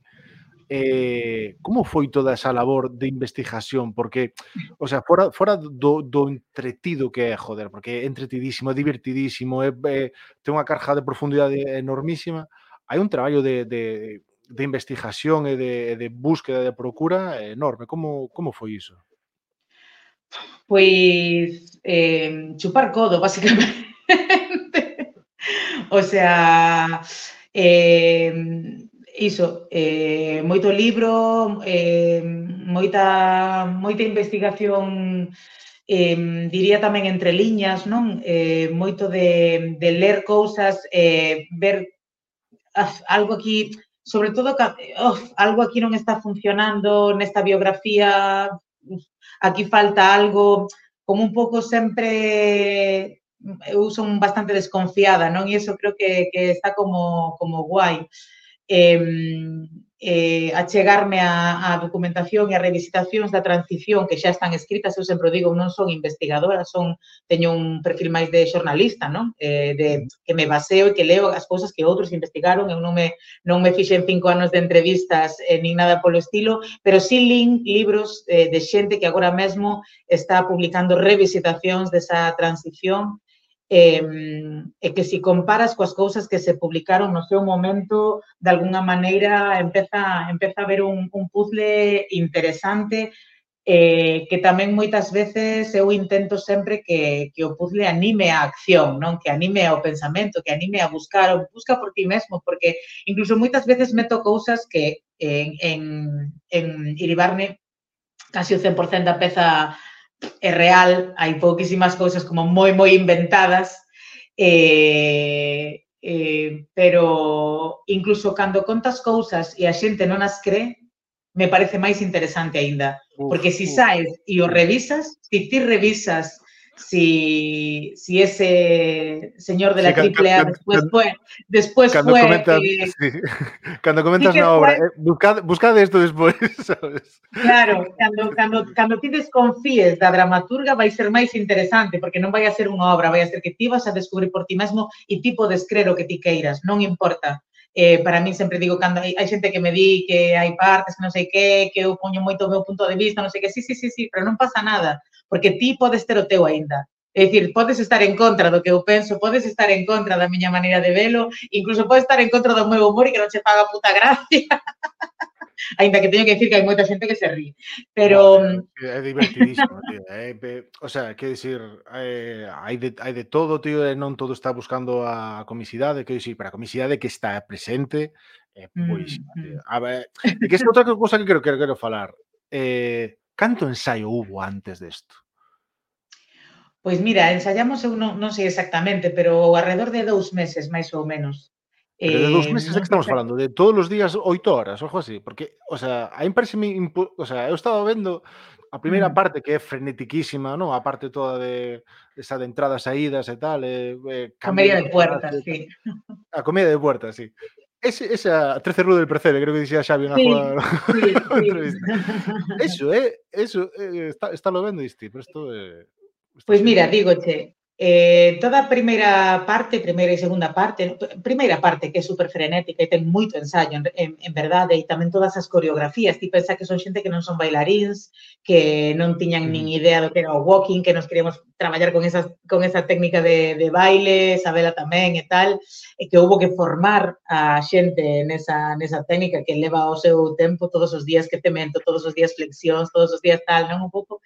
Eh, como foi toda esa labor de investigación? Porque, o sea, fora, fora do, do entretido que é, joder, porque é entretidísimo, é divertidísimo, é, é, ten unha carga de profundidade enormísima, hai un traballo de, de, de investigación e de, de búsqueda, de procura enorme. Como, como foi iso? Pois eh, chupar codo, basicamente. O sea, eh, iso, eh, moito libro, eh, moita, moita investigación, eh, diría tamén entre liñas, non? Eh, moito de, de ler cousas, eh, ver af, algo aquí, sobre todo, oh, algo aquí non está funcionando nesta biografía, aquí falta algo, como un pouco sempre... Eu son bastante desconfiada, non? E iso creo que, que está como, como guai. Eh, eh, achegarme a, a documentación e a revisitacións da transición que xa están escritas, eu sempre digo, non son investigadora, son, teño un perfil máis de xornalista, non? Eh, de, que me baseo e que leo as cousas que outros investigaron, eu non me, non me fixen cinco anos de entrevistas eh, nin nada polo estilo, pero sí lin libros eh, de xente que agora mesmo está publicando revisitacións desa transición. e, e que se comparas coas cousas que se publicaron no seu momento, de alguna maneira empeza, empeza a haber un, un puzzle interesante, eh, que tamén moitas veces eu intento sempre que, que o puzzle anime a acción, non? Que anime ao pensamento, que anime a buscar, ou busca por ti mesmo, porque incluso moitas veces meto cousas que en, en, en Iribarne casi o cen por cento da peza é real, hai pouquísimas cousas como moi, moi inventadas, eh, eh, pero incluso cando contas cousas e a xente non as cree, me parece máis interesante aínda, porque Uf, si uf, saes e o sí. revisas, si ti revisas si, si ese señor de Sí, la can, can, triple A can, después can, fue, después cando fue comentas, eh, sí, cando sí comentas que na obra, fue eh, buscad, buscad esto despois, sabes? claro, cando, cando, cando ti desconfíes da dramaturga vai ser máis interesante, porque non vai a ser unha obra, vai a ser que ti vas a descubrir por ti mesmo e ti podes crer o que ti queiras, non importa. Eh, para mí sempre digo, cando hai, hai xente que me di que hai partes que non sei que, que eu poño moito o meu punto de vista, non sei que, sí, sí, sí, sí, pero non pasa nada, porque ti podes ter o teu aínda. É dicir, podes estar en contra do que eu penso, podes estar en contra da miña maneira de velo, incluso podes estar en contra do meu humor e que non che paga puta gracia. Ainda que teño que decir que hai moita xente que se ríe. Buah, Pero tío, é divertidísimo, tío. Eh, pe- o sea, quero dicir, eh, hai de, hai de todo, tío, e non todo está buscando a comicidade, quero dicir, para a comicidade que está presente é mm, boísima, tío. mm. A ver, é que esta outra cousa que quero, quero, quero falar. Eh, canto ensaio hubo antes desto? Pois mira, ensaiamos, eu non, non sei exactamente, pero ao arredor de dous meses, máis ou menos. Pero de dous Eh, meses de non que sei estamos exact... falando, de todos os días oito horas, ou algo así, porque, o sea, a mí pareceme impo o sea, eu estaba vendo a primeira Mm. parte que é frenetiquísima, non? A parte toda de esa de entradas, saídas e tal, e, e cambio Comedia de de personaxe puertas, e tal. sí. A comedia de puertas, sí. Ese, esa trece Rue del Percebe, creo que dixía Xavi na Sí, súa sí, sí. entrevista. Eso, eh, eso, eh, está, está lo vendo, diste, pero isto é, esta Pois mira, xente. dígoche, eh, toda a primeira parte, primeira e segunda parte, primeira parte que é super frenética e ten moito ensayo, en, en, en verdade, e tamén todas as coreografías, ti pensa que son xente que non son bailaríns, que non tiñan nin Ujú. idea do que era o walking, que nos queríamos traballar con, esas, con esa técnica de, de baile, Sabela tamén e tal, e que houve que formar a xente nesa, nesa técnica que leva o seu tempo todos os días que te mento, todos os días flexións, todos os días tal, non un pouco.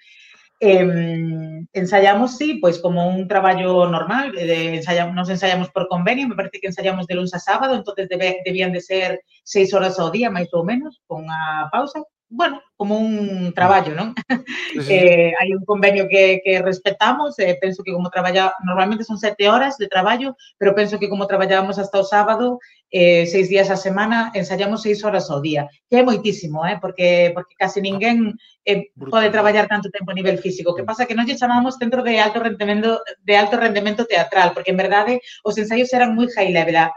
Eh, ensayamos, sí, pois como un traballo normal, de, ensayamos, nos ensayamos por convenio, me parece que ensayamos de lunes a sábado, entonces debe, debían de ser seis horas ao día, máis ou menos, con a pausa, bueno, como un traballo, non? Sí, sí, sí. Eh, hai un convenio que, que respetamos, eh, penso que como traballa, normalmente son sete horas de traballo, pero penso que como traballábamos hasta o sábado, eh, seis días a semana, ensayamos seis horas ao día, que é moitísimo, eh, porque, porque casi ninguén eh, pode Brutal. traballar tanto tempo a nivel físico. Que Mm. pasa que non lle chamamos centro de alto rendemento de alto rendemento teatral, porque en verdade os ensaios eran moi high level. A,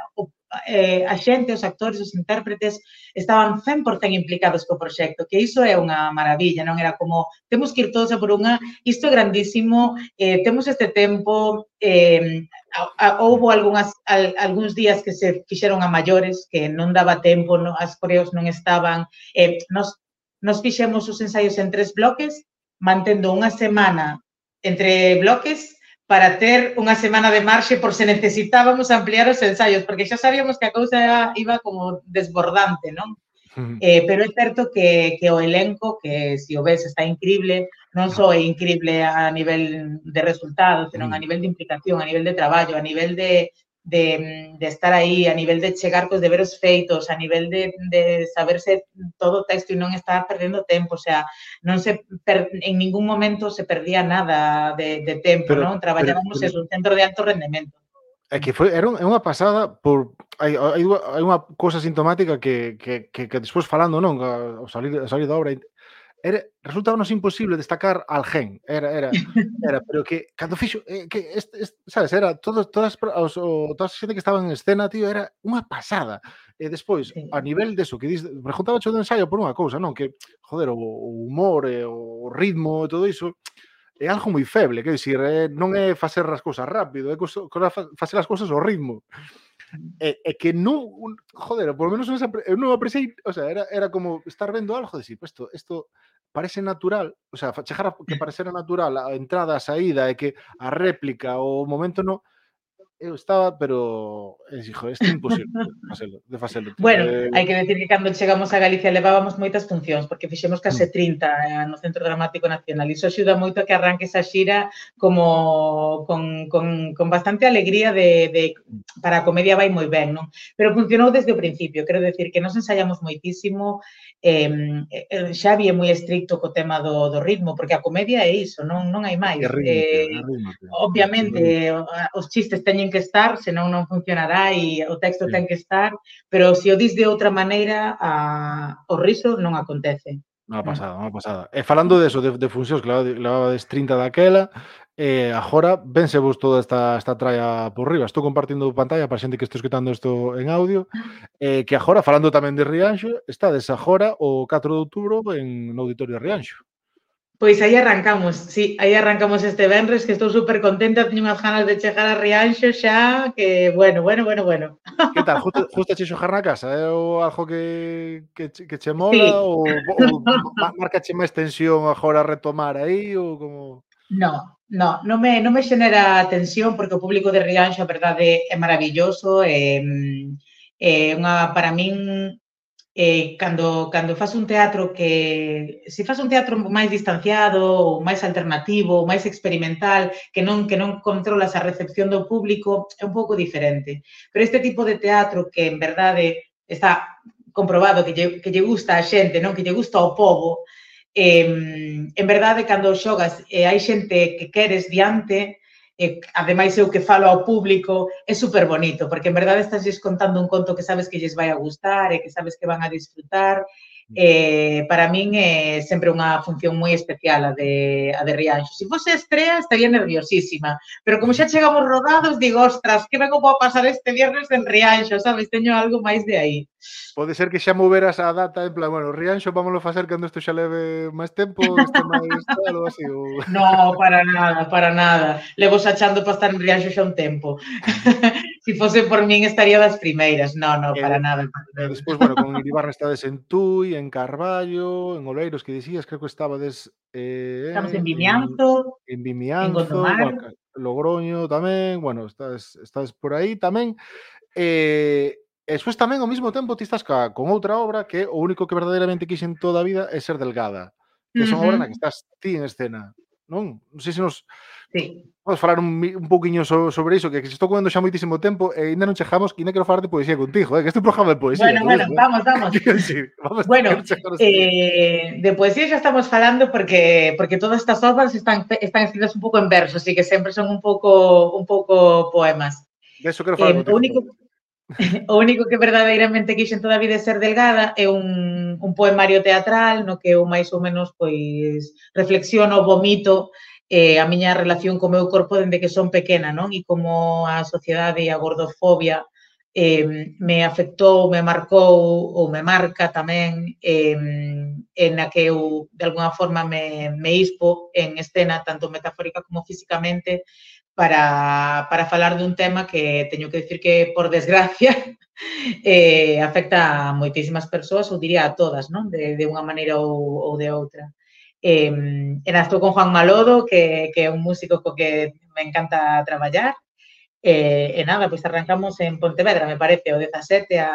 eh, a xente, os actores, os intérpretes estaban cen por cento implicados co proxecto, que iso é unha maravilla, non era como temos que ir todos a por unha, isto é grandísimo, eh, temos este tempo, eh, a, a, houbo algunhas, al, algúns días que se fixeron a maiores, que non daba tempo, no, as coreos non estaban, eh, nos Nos fixemos os ensaios en tres bloques, mantendo unha semana entre bloques para ter unha semana de marxe por se necesitábamos ampliar os ensaios, porque xa sabíamos que a cousa iba como desbordante, non? Eh, pero é certo que, que o elenco, que se o ves está increíble, non só é increíble a nivel de resultados, senón a nivel de implicación, a nivel de traballo, a nivel de, de, de estar aí, a nivel de chegar cos deberes feitos, a nivel de, de saberse todo o texto e non estar perdendo tempo, o sea, non se per, en ningún momento se perdía nada de, de tempo, Pero, non? pero, Traballábamos pero, en un centro de alto rendemento. é que foi, era un, é unha pasada por hai, hai, hai unha cousa sintomática que, que, que, que despois falando, non, ao salir, ao salir da obra, era, resultábanos imposible destacar alguén, era, era, era, pero que cando fixo, eh, que este, este, sabes, era todo, todas os, o, toda a xente que estaba en escena, tío, era unha pasada. E despois, Sí. a nivel deso, que dis, preguntaba cho do ensaio por unha cousa, non, que, joder, o, o humor e o ritmo e todo iso, é algo moi feble, quero dicir, é, non é facer as cousas rápido, é cousa, facer as cousas ao ritmo. É, é que non, joder, por lo menos eu non apreciei, o sea, era, era como estar vendo algo de si, pues isto, isto parece natural, o sea, chegar a que parecera natural a entrada, a saída, e que a réplica, o momento no, eu estaba, pero es, hijo, isto é imposible de facelo, de facelo, tío. Bueno, Eh, hai que decir que cando chegamos a Galicia levábamos moitas funcións, porque fixemos case trinta eh, no Centro Dramático Nacional. Iso axuda moito a que arranque esa xira como con, con, con bastante alegría de, de para a comedia vai moi ben, non? Pero funcionou desde o principio, quero decir que nos ensaiamos moitísimo, eh, Xavi é moi estricto co tema do, do ritmo, porque a comedia é iso, non, non hai máis. é ritmo, tío, é Eh, ritmo, tío. obviamente, os chistes teñen que estar, senón non funcionará e o texto ten que estar, pero se o dis de outra maneira, a, o riso non acontece. Unha pasada, unha pasada. E falando de eso, de, de funcións, que levabades trinta daquela, eh, agora vense vos toda esta, esta tralla por riba. Estou compartindo pantalla para xente que este escutando isto en audio, eh, que agora, falando tamén de Rianxo, estades agora o catro de outubro en no Auditorio de Rianxo. Pois aí arrancamos, sí, aí arrancamos este venres, que estou super contenta, teño unhas ganas de chegar a Rianxo xa, que bueno, bueno, bueno, bueno. Que tal? Justo, justo che xogar na casa? É o algo que, que, che, que che mola? Sí. Ou, ou marca che máis tensión agora retomar aí? Ou como... No, no, non me, non me xenera tensión, porque o público de Rianxo, a verdade, é maravilloso, é, é unha, para min, Eh, cando, cando faz un teatro que, se faz un teatro máis distanciado, ou máis alternativo, ou máis experimental, que non, que non controlas a recepción do público, é un pouco diferente. Pero este tipo de teatro que, en verdade, está comprobado que lle, que lle gusta a xente, non, que lle gusta ao pobo, eh, en verdade, cando xogas e hai xente que queres diante, e ademais eu que falo ao público, é super bonito, porque en verdade estás contando un conto que sabes que lles vai a gustar e que sabes que van a disfrutar. Eh, para min é sempre unha función moi especial a de, a de Rianxo. Se fose estrea, estaría nerviosísima, pero como xa chegamos rodados, digo, ostras, que vengo vou pasar este viernes en Rianxo, sabes? Teño algo máis de aí. Pode ser que xa moveras a data en plan, bueno, Rianxo, vámoslo facer cando isto xa leve máis tempo, este máis tal ou así, ou... No, para nada, para nada. Levo xachando para estar en Rianxo xa un tempo. Se si fose por min estaría das primeiras. No, no, para eh, nada. E despois, bueno, con Iribarne estades en Tui, en Carballo, en Oleiros, que dicías, creo que estabades... Eh, Estamos en Vimianzo, en, en en Vimianzo, Gondomar. bueno, Logroño tamén, bueno, estás, estás por aí tamén. E... E despois tamén ao mesmo tempo ti estás ca, con outra obra que o único que verdadeiramente quixen toda a vida é Ser Delgada, que son uh -huh. obra na que estás ti en escena, non? Non sei se nos sí. podes falar un, un pouquiño so, sobre iso, que se estou comendo xa moitísimo tempo e ainda non chegamos, que ainda quero falar de poesía contigo, eh? Que este programa de poesía. Bueno, bueno, eso, vamos, eh? vamos. Sí, vamos bueno, eh, de poesía xa estamos falando porque porque todas estas obras están están escritas un pouco en verso, así que sempre son un pouco un pouco poemas. De eso quero falar eh, contigo. O único O único que verdadeiramente quixen toda a vida ser Delgada é un, un poemario teatral no que eu máis ou menos pois reflexiono, vomito eh, a miña relación co meu corpo dende que son pequena, non? E como a sociedade e a gordofobia eh, me afectou, me marcou ou me marca tamén eh, en a que eu de alguna forma me, me ispo en escena, tanto metafórica como físicamente, para, para falar dun tema que teño que decir que, por desgracia, eh, afecta a moitísimas persoas, ou diría a todas, non? De, de unha maneira ou, ou de outra. Eh, e estou con Juan Malodo, que, que é un músico co que me encanta traballar, e, e nada, pois arrancamos en Pontevedra, me parece, o dezasete a,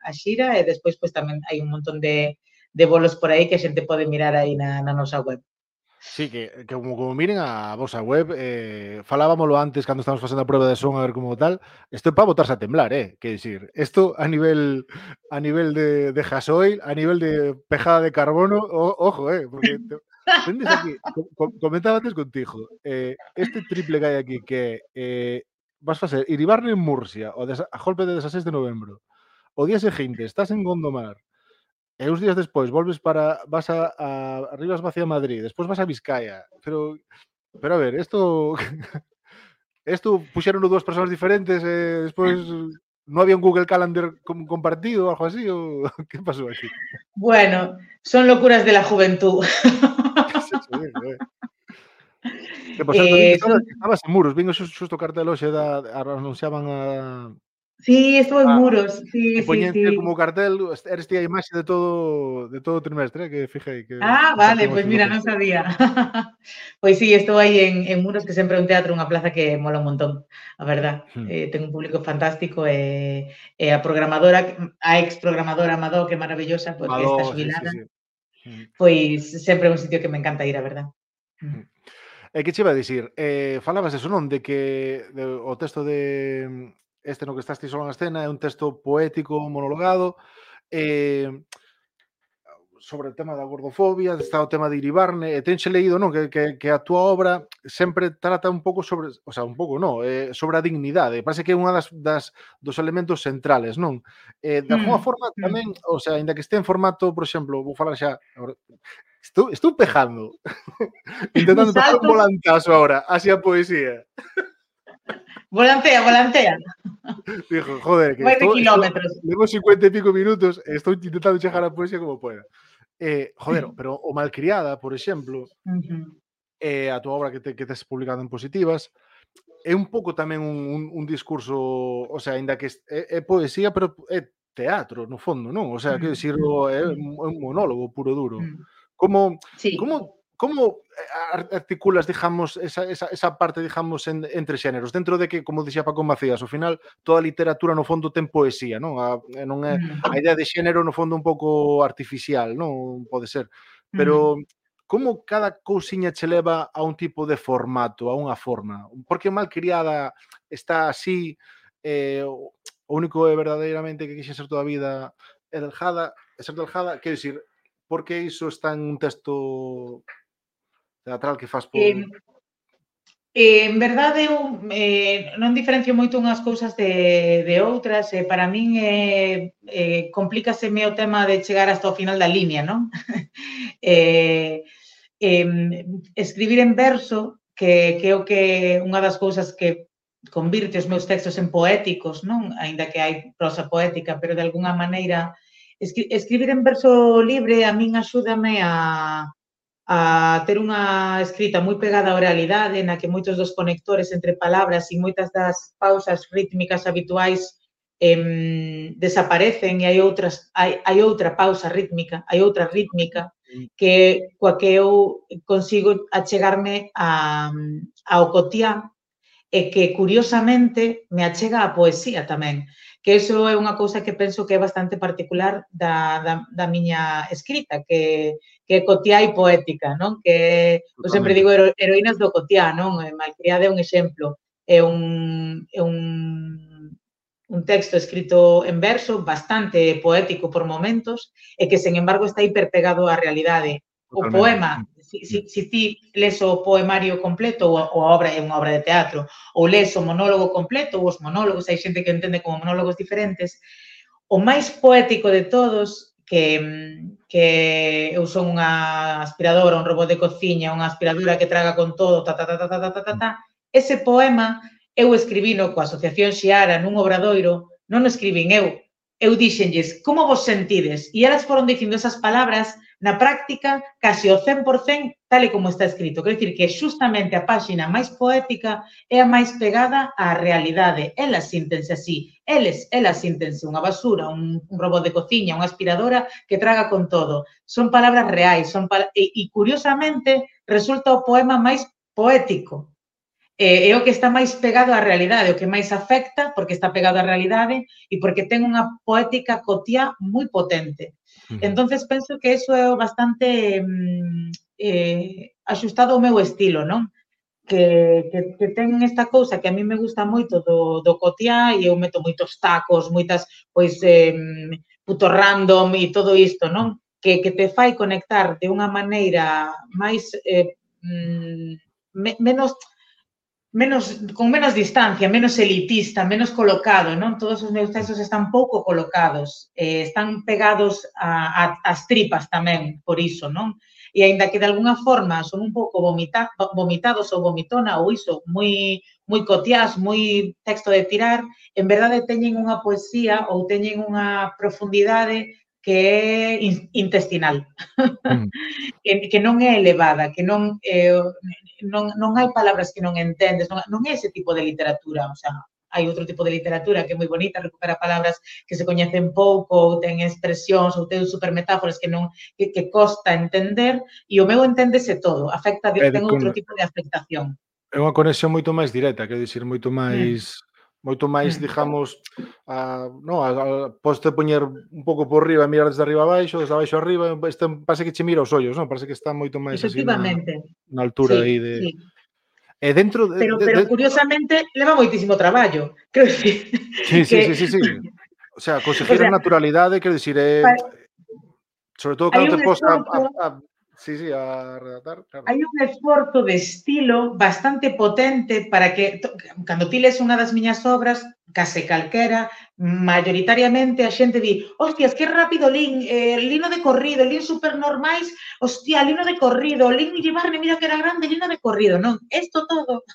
a xira, e despois pois tamén hai un montón de, de bolos por aí que a xente pode mirar aí na, na nosa web. Sí, que, que como, como miren a vosa web, eh, falábamoslo antes cando estamos facendo a prueba de son a ver como tal, isto é para botarse a temblar, eh, que decir, isto a nivel a nivel de, de gasoil, a nivel de pejada de carbono, o, ojo, eh, porque te, vendes aquí, com, comentaba antes contigo, eh, este triple que hai aquí que eh, vas facer Iribarne en Murcia, o des, a golpe de dezasseis de novembro, o día seguinte estás en Gondomar, e uns días despois volves para vas a, a Rivas Vacía Madrid, despois vas a Vizcaya, pero pero a ver, isto isto puxeron dúas persoas diferentes e eh, despois non había un Google Calendar compartido ou algo así, ou que pasou aquí? Bueno, son locuras de la juventud. Sí, sí, eh. Que por certo, eh, estabas, son... estabas en Muros, vin xusto o cartel hoxe da anunciaban a Sí, estuvo en Ah, Muros, sí, e sí, poñente sí. como cartel, eres ti a imaxe de todo de todo o trimestre, que fijei que Ah, vale, compartimos pois mira, non fotos. sabía. Pois sí, estou aí en, en Muros, que sempre é un teatro, unha plaza que mola un montón, a verdad. Hmm. Eh, ten un público fantástico e, e a programadora, a ex programadora Madó, que é maravillosa, porque está Maló, sí, sí, xubilada, sí. Mm. pois sempre é un sitio que me encanta ir, a verdad. Mm. Mm. E que che iba a dicir, eh, falabas eso, non? De que de, o texto de este no que estás ti solo na escena é un texto poético, monologado, eh, sobre o tema da gordofobia, está o tema de Iribarne, e tenche leído, non? Que, que, que a túa obra sempre trata un pouco sobre, o sea, un pouco, non, eh, sobre a dignidade. Parece que é unha das, das dos elementos centrales, non? Eh, de alguna Mm, forma mm. tamén, o sea, ainda que este en formato, por exemplo, vou falar xa, agora, estou, estou pejando, Un intentando pegar un salto, volantazo ahora, así a poesía. volantea, volantea. Dijo, joder, que Vai de estou, estou, kilómetros. levo cincuenta e pico minutos e estou intentando chegar a poesía como poeda. Eh, joder, pero o Malcriada, por exemplo, Ujú. eh, a túa obra que, te, que tes publicado en Positivas, é un pouco tamén un, un, un discurso, o sea, ainda que é, é poesía, pero é teatro, no fondo, non? O sea, Mm, que decir, mm, é mm, un monólogo puro duro. mm. Como, Sí. como, como articulas, digamos, esa, esa, esa parte, digamos, en, entre xéneros, dentro de que, como dixía Paco Macías, ao final, toda a literatura, no fondo, ten poesía, non? A, non é, a Mm, idea de xénero, no fondo, un pouco artificial, non? Pode ser. mm. Pero como cada cousiña che leva a un tipo de formato, a unha forma? Porque Malcriada está así, eh, o único é verdadeiramente que quixen ser toda a vida é Deljada, é ser Deljada, quero dicir, por que iso está en un texto teatral que faz por... Eh, eh, en verdade, eu eh, non diferencio moito unhas cousas de, de outras. Eh, para min eh, eh, complícaseme o tema de chegar hasta o final da línea, non? eh, eh, escribir en verso, que, que é o que unha das cousas que convirte os meus textos en poéticos, non? Aínda que hai prosa poética, pero de alguna maneira escri escribir en verso libre a min axúdame a a ter unha escrita moi pegada á oralidade, na que moitos dos conectores entre palabras e moitas das pausas rítmicas habituais em, desaparecen e hai outras hai, hai outra pausa rítmica, hai outra rítmica que coa que eu consigo achegarme a, ao cotiá e que, curiosamente, me achega a poesía tamén, que iso é unha cousa que penso que é bastante particular da, da, da miña escrita, que, que é cotiá e poética, non? Que eu sempre Totalmente. digo hero, heroínas do cotiá, non? Malcriada é un exemplo, é un, é un, un texto escrito en verso, bastante poético por momentos, e que, sen embargo, está hiperpegado á realidade. O Totalmente. poema, si, si, si ti lees o poemario completo ou a, ou a obra é unha obra de teatro, ou lees o monólogo completo ou os monólogos, hai xente que entende como monólogos diferentes, o máis poético de todos, que, que eu son unha aspiradora, un robot de cociña, unha aspiradora que traga con todo, ta, ta, ta, ta, ta, ta, ta, ta, ese poema eu escribino coa Asociación Xiara nun obradoiro, non o escribín eu, eu dixenlles, como vos sentides? E elas foron dicindo esas palabras na práctica casi o cen por cen tal e como está escrito. Quero dicir que justamente a páxina máis poética é a máis pegada á realidade. Elas síntense así. Eles, elas síntense unha basura, un, un robot de cociña, unha aspiradora que traga con todo. Son palabras reais. Son pal e, e, curiosamente, resulta o poema máis poético. É, é o que está máis pegado á realidade, o que máis afecta, porque está pegado á realidade e porque ten unha poética cotiá moi potente. Entonces penso que eso é bastante eh, axustado ao meu estilo, non? Que, que, que ten esta cousa que a mí me gusta moito do, do cotiá e eu meto moitos tacos, moitas, pois, eh, puto random e todo isto, non? Que, que te fai conectar de unha maneira máis, eh, me, menos menos, con menos distancia, menos elitista, menos colocado, non? Todos os meus textos están pouco colocados, eh, están pegados a, a, as tripas tamén, por iso, non? E aínda que de alguna forma son un pouco vomita, vomitados ou vomitona ou iso, moi, moi cotiás, moi texto de tirar, en verdade teñen unha poesía ou teñen unha profundidade que é intestinal, mm. que, que non é elevada, que non, eh, non, non hai palabras que non entendes, non, non é ese tipo de literatura, o sea, hai outro tipo de literatura que é moi bonita, recupera palabras que se coñecen pouco, ou ten expresións, ou ten supermetáforas que non que, que costa entender, e o meu enténdese todo, afecta, É, ten con, outro tipo de afectación. é unha conexión moito máis directa, quero dicir, moito Mm. máis moito máis, Mm. digamos, a, no, a, a, podes poñer un pouco por riba e mirar desde arriba abaixo, desde abaixo arriba, este, parece que che mira os ollos, non? Parece que está moito máis así na, Efectivamente, na altura aí sí, de... sí. E dentro de... Pero, de, pero de... curiosamente, leva moitísimo traballo. Quero dicir Sí, sí, que... sí, sí, sí. O sea, conseguir O sea, a naturalidade, quero dicir, é... pa- Sobre todo hai cando un te posa a, a, esforzo a, sí, sí, a redactar, claro. hai un esforzo de estilo bastante potente para que, cando ti les unha das miñas obras, case calquera, mayoritariamente a xente di, hostias, que rápido lin, eh, lino de corrido, lin super normais, hostia, lino de corrido, lin llevarme, mira que era grande, lino de corrido, non, isto todo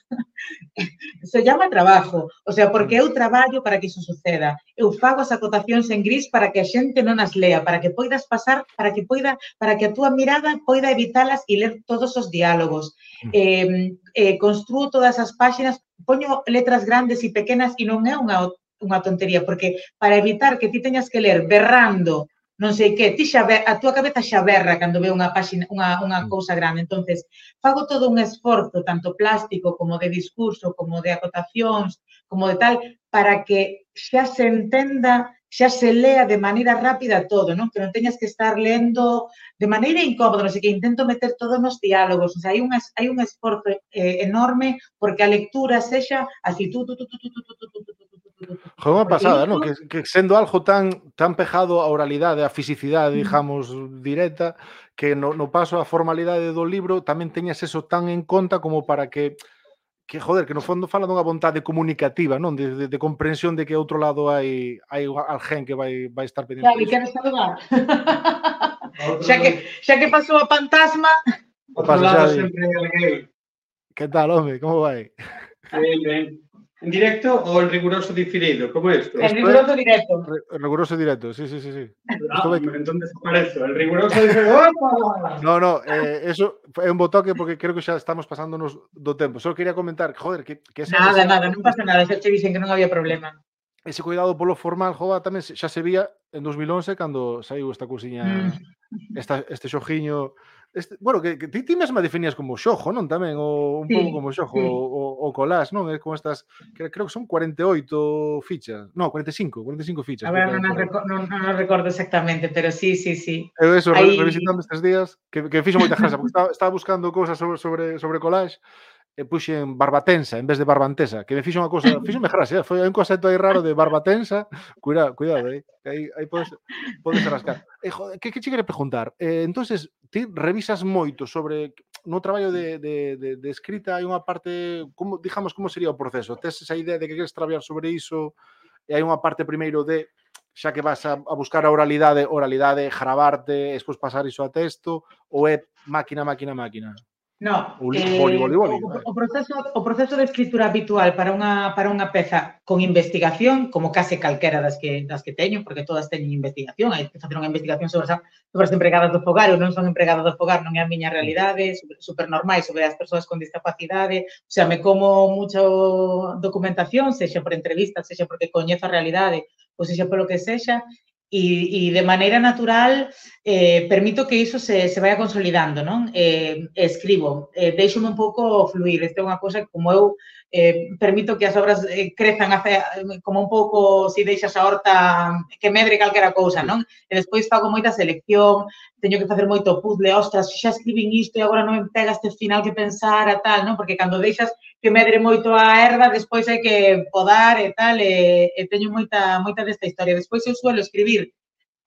se llama trabajo, o sea, porque eu traballo para que iso suceda, eu fago as acotacións en gris para que a xente non as lea, para que poidas pasar, para que poida, para que a túa mirada poida evitalas e ler todos os diálogos, eh, eh, construo todas as páxinas, poño letras grandes e pequenas e non é unha, unha tontería, porque para evitar que ti teñas que ler berrando, non sei que, ti xa ver, a túa cabeza xa berra cando ve unha páxina, unha, unha cousa grande, entonces fago todo un esforzo, tanto plástico como de discurso, como de acotacións, como de tal, para que xa se entenda, xa se lea de maneira rápida todo, non? Que non teñas que estar lendo de maneira incómoda, non sei que, intento meter todo nos diálogos, o sea, hai un, hai un esforzo eh, enorme porque a lectura sexa así, tú, tú, tú, tú, tú, tú, tú, tú, tú, tú, Joder, unha pasada, non? Que, que sendo algo tan tan pejado á oralidade, á fisicidade, digamos, directa, que no, no paso á formalidade do libro tamén teñas eso tan en conta como para que que, joder, que no fondo fala dunha vontade comunicativa, non? De, de, de comprensión de que outro lado hai hai alguén que vai vai estar pendiente diso. Xavi, queres saludar? xa, lado, que, xa que pasou a fantasma... Outro pasa, lado Xavi? sempre alguén. Que tal, home? Como vai? Ben, ben. En directo ou en riguroso diferido? Como é isto? En riguroso directo. Riguroso directo, sí, sí, sí, sí. Ah, entón desaparezo. El riguroso diferido... No, no, eh, eso é un botoque porque creo que xa estamos pasándonos do tempo. Só quería comentar, joder, que, que ese, Nada, ese, nada, non pasa nada, xa che dixen que non había problema. ese cuidado polo formal, joder, tamén xa se vía en dos mil once cando saiu esta cousiña, Mm. esta, este xogiño, este, bueno, que, que ti, ti mesma definías como xojo, non? Tamén, o un Sí, pouco como xojo, sí. o, o collage, non? É como estas, que creo que son cuarenta e oito fichas, no, cuarenta e cinco, cuarenta e cinco fichas. A ver, creo que non, hai por aí. reco non, non recordo exactamente, pero sí, sí, sí. Eu eso, Hai... revisitando estes días, que, que fixo moita gracia, porque estaba, estaba buscando cousas sobre, sobre, sobre collage, e puxen barbatensa en vez de barbantesa, que me fixo unha cousa, fíxome gracia, foi un concepto aí raro de barbatensa, cuidado, cuidado, aí, aí, aí podes, podes rascar. E, joder, que, que che quere preguntar? Eh, entonces, ti revisas moito sobre, no traballo de, de, de, de escrita, hai unha parte, como, digamos, como sería o proceso? Tes esa idea de que queres traballar sobre iso, e hai unha parte primeiro de, xa que vas a, a buscar a oralidade, oralidade, gravarte, despois pasar iso a texto, ou é máquina, máquina, máquina? No, O li- eh, boli, boli, boli, o, vai. o, proceso, o proceso de escritura habitual para unha, para unha peza con investigación, como case calquera das que, das que teño, porque todas teñen investigación, hai que facer unha investigación sobre, as, sobre as empregadas do fogar, ou non son empregadas do fogar, non é a miña realidade, super, super normal sobre as persoas con discapacidade, o sea, me como mucho documentación, sexa por entrevistas, sexa porque coñezo a realidade, ou sexa polo que sexa, e, e de maneira natural eh, permito que iso se, se vaya consolidando, non? Eh, escribo, eh, deixome un pouco fluir, esta é unha cosa que como eu eh, permito que as obras eh, crezan hace, como un pouco se si deixas a horta que medre calquera cousa, non? E despois fago moita selección, teño que facer moito puzzle, ostras, xa escribín isto e agora non me pega este final que pensar a tal, non? Porque cando deixas que medre moito a erva, despois hai que podar e tal, e, e teño moita, moita desta historia. Despois eu suelo escribir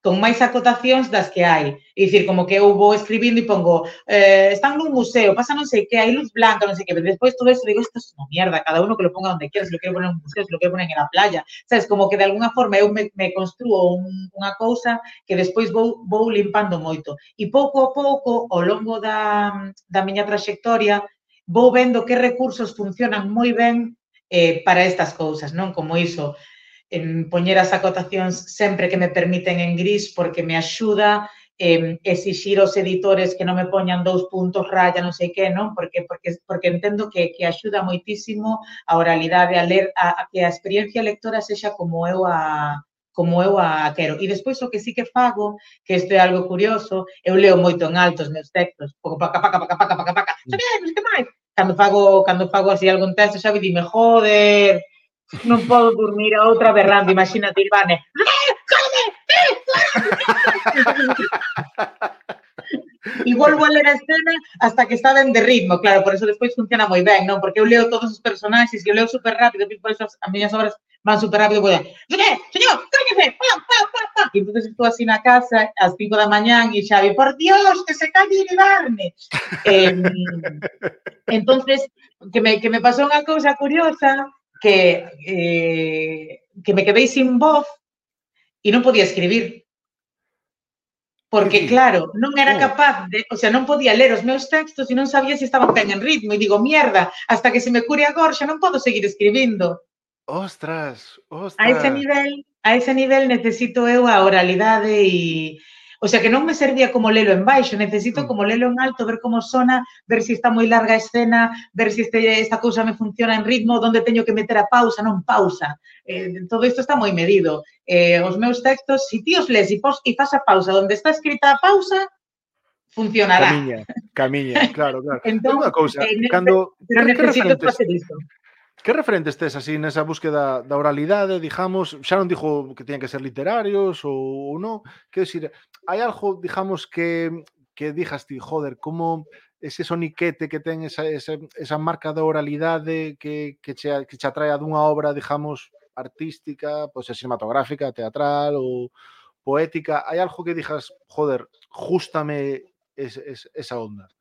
con máis acotacións das que hai. É dicir, como que eu vou escribindo e pongo eh, están nun museo, pasa non sei que, hai luz blanca, non sei que, pero despois todo eso digo, isto é unha mierda, cada uno que lo ponga onde quera, se lo quero poner en un museo, se lo quero poner en la playa. Sabes, como que de alguna forma eu me, me construo un, unha cousa que despois vou, vou limpando moito. E pouco a pouco, ao longo da, da miña traxectoria, vou vendo que recursos funcionan moi ben eh, para estas cousas, non? Como iso, en poñer as acotacións sempre que me permiten en gris porque me axuda eh, exixir aos editores que non me poñan dous puntos, raya, non sei que, non? Porque, porque, porque entendo que, que axuda moitísimo a oralidade, a ler, a, a que a experiencia lectora sexa como eu a como eu a quero. E despois o que sí que fago, que isto é algo curioso, eu leo moito en alto os meus textos, pouco paca, paca, paca, paca, paca, paca, xa ben, non sei que máis. Cando fago, cando fago así algún texto, xa dime, joder, non podo dormir a outra berrando, imagínate, Ivane. E volvo a ler a escena hasta que está ben de ritmo, claro, por eso despois funciona moi ben, non? Porque eu leo todos os personaxes e eu leo super rápido, por eso as miñas obras van super rápido, vou a señor, señor, cállese, pa, pa, pa, pa. E entón estou así na casa, ás cinco da mañán, e Xavi, por Dios, que se calle Iribarne. Eh, entonces, que me, que me pasou unha cousa curiosa, que, eh, que me quedei sin voz e non podía escribir. Porque, claro, non era capaz de... O sea, non podía ler os meus textos e non sabía se estaban ben en ritmo. E digo, mierda, hasta que se me cure a gorxa non podo seguir escribindo. Ostras, ostras. A ese nivel, a ese nivel necesito eu a oralidade e... O sea, que non me servía como lelo en baixo, necesito como lelo en alto, ver como sona, ver se está moi larga a escena, ver se este, esta cousa me funciona en ritmo, onde teño que meter a pausa, non pausa. Eh, todo isto está moi medido. Eh, os meus textos, se ti os lees e, pos, e faz a pausa onde está escrita a pausa, funcionará. Camiña, camiña, claro, claro. Entón, unha cousa, eh, cando... pero que, necesito que facer isto. Que referentes tes así nesa búsqueda da oralidade, digamos, xa non dixo que teñan que ser literarios ou non, quero dicir, hai algo, digamos, que que dixas ti, joder, como ese soniquete que ten esa, esa, esa marca da oralidade que, que, che, que che atrae dunha obra, digamos, artística, pois pues, cinematográfica, teatral ou poética, hai algo que dixas, joder, jústame es, es, esa onda?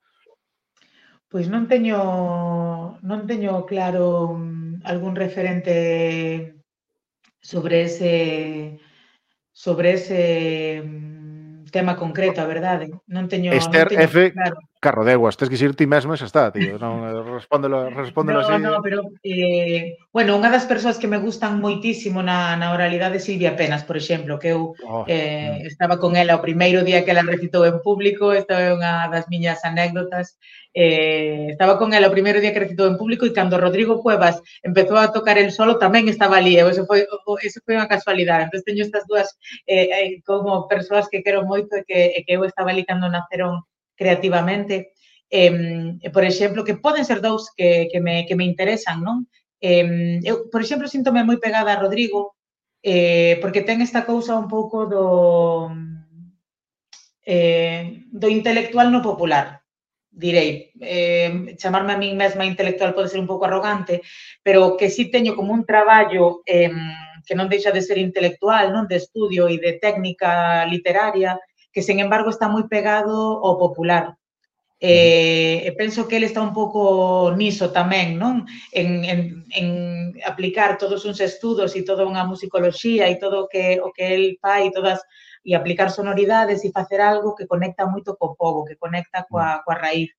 Pois non teño non teño claro algún referente sobre ese sobre ese tema concreto, a verdade. Non teño Esther non teño F. claro. Carrodeguas, tens que ir ti mesmo e xa está, tío. Non, respóndelo, respóndelo no, así. No, pero, eh, bueno, unha das persoas que me gustan moitísimo na, na oralidade é Silvia Penas, por exemplo, que eu Oh, eh, mm. estaba con ela o primeiro día que ela recitou en público, esta é unha das miñas anécdotas, eh, estaba con ela o primeiro día que recitou en público e cando Rodrigo Cuevas empezou a tocar el solo tamén estaba ali, eso foi, eso foi unha casualidade. Entón, teño estas dúas eh, como persoas que quero moito e que, e que eu estaba ali cando naceron creativamente. Eh, por exemplo, que poden ser dous que, que, me, que me interesan, non? Eh, eu, por exemplo, síntome moi pegada a Rodrigo eh, porque ten esta cousa un pouco do eh, do intelectual no popular, direi. Eh, chamarme a min mesma intelectual pode ser un pouco arrogante, pero que sí teño como un traballo eh, que non deixa de ser intelectual, non, de estudio e de técnica literaria, que, sen embargo, está moi pegado ao popular. Eh, e penso que ele está un pouco niso tamén, non? En, en, en aplicar todos uns estudos e toda unha musicoloxía e todo o que, o que el fai, todas, e aplicar sonoridades e facer algo que conecta moito co pobo, que conecta coa, coa raíz.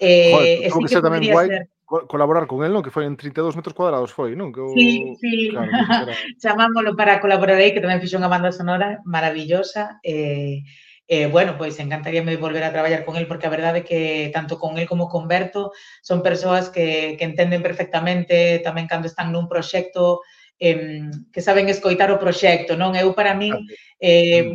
Joder, Eh, e tuvo sí que que ser tamén podría guai ser... colaborar con el, non? Que foi en trinta e dous metros cuadrados, foi, non? Que o... Sí, sí, claro, que será... chamámolo para colaborar aí, que tamén fixo unha banda sonora maravillosa. Eh, Eh, bueno, pois encantaríame volver a traballar con el porque a verdade é que tanto con el como con Berto son persoas que, que entenden perfectamente tamén cando están nun proxecto eh, que saben escoitar o proxecto, non? Eu, para min, eh,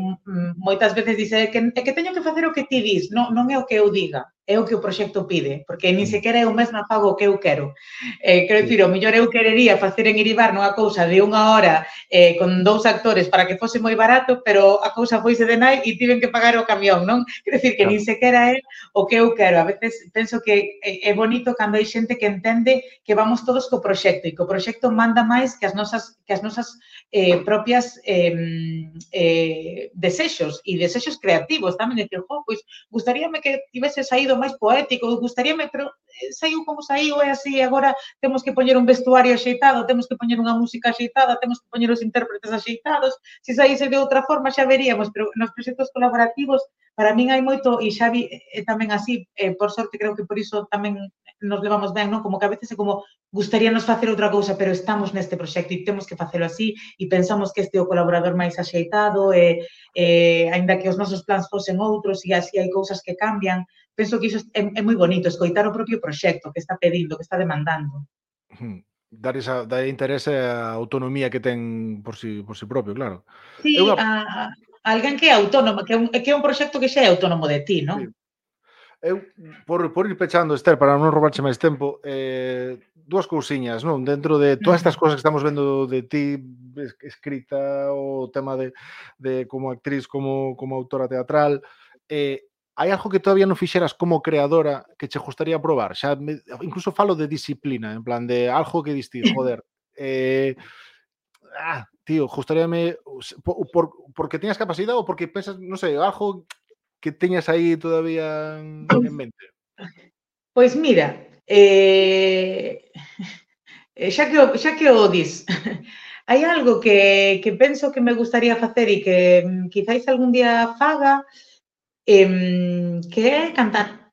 moitas veces dice que, é que teño que facer o que ti dis, non, non é o que eu diga, é o que o proxecto pide, porque nin sequera eu mesma fago o que eu quero. Eh, quero dicir, o mellor eu querería facer en Iribar nunha cousa de unha hora eh, con dous actores para que fose moi barato, pero a cousa foise de nai e tiven que pagar o camión, non? Quero dicir que nin sequera é o que eu quero. A veces penso que é bonito cando hai xente que entende que vamos todos co proxecto e que o proxecto manda máis que as nosas, que as nosas eh, propias eh, eh, desexos e desexos creativos tamén. Decir, jo, pois, gustaríame que tivese saído máis poético, gustaríame, pero saiu como saiu, é así, agora temos que poñer un vestuario axeitado, temos que poñer unha música axeitada, temos que poñer os intérpretes axeitados, se saíse de outra forma xa veríamos, pero nos proxectos colaborativos para min hai moito, e Xavi é tamén así, eh, por sorte creo que por iso tamén nos levamos ben, non? Como que a veces é como gustaríanos facer outra cousa, pero estamos neste proxecto e temos que facelo así e pensamos que este é o colaborador máis axeitado e, e aínda que os nosos plans fosen outros e así hai cousas que cambian, penso que iso é, é moi bonito, escoitar o propio proxecto que está pedindo, que está demandando. Hmm. Dar esa dar interese á autonomía que ten por si, por si propio, claro. Sí, É unha... a, a alguén que é autónomo, que é un, que é un proxecto que xa é autónomo de ti, non? Sí. Eu, por, por ir pechando, Esther, para non roubarche máis tempo, eh, dúas cousiñas, non? Dentro de todas estas cousas que estamos vendo de ti escrita, o tema de, de como actriz, como, como autora teatral, eh, hai algo que todavía non fixeras como creadora que che gustaría probar? Xa me, incluso falo de disciplina, en plan de algo que diste, joder, eh, ah, tío, gustaríame por, por, porque teñas capacidade ou porque pensas, non sei, algo que teñas aí todavía en, en mente? Pois mira, eh, xa que o, xa que o dis, hai algo que, que penso que me gustaría facer e que quizáis algún día faga, eh, que é cantar.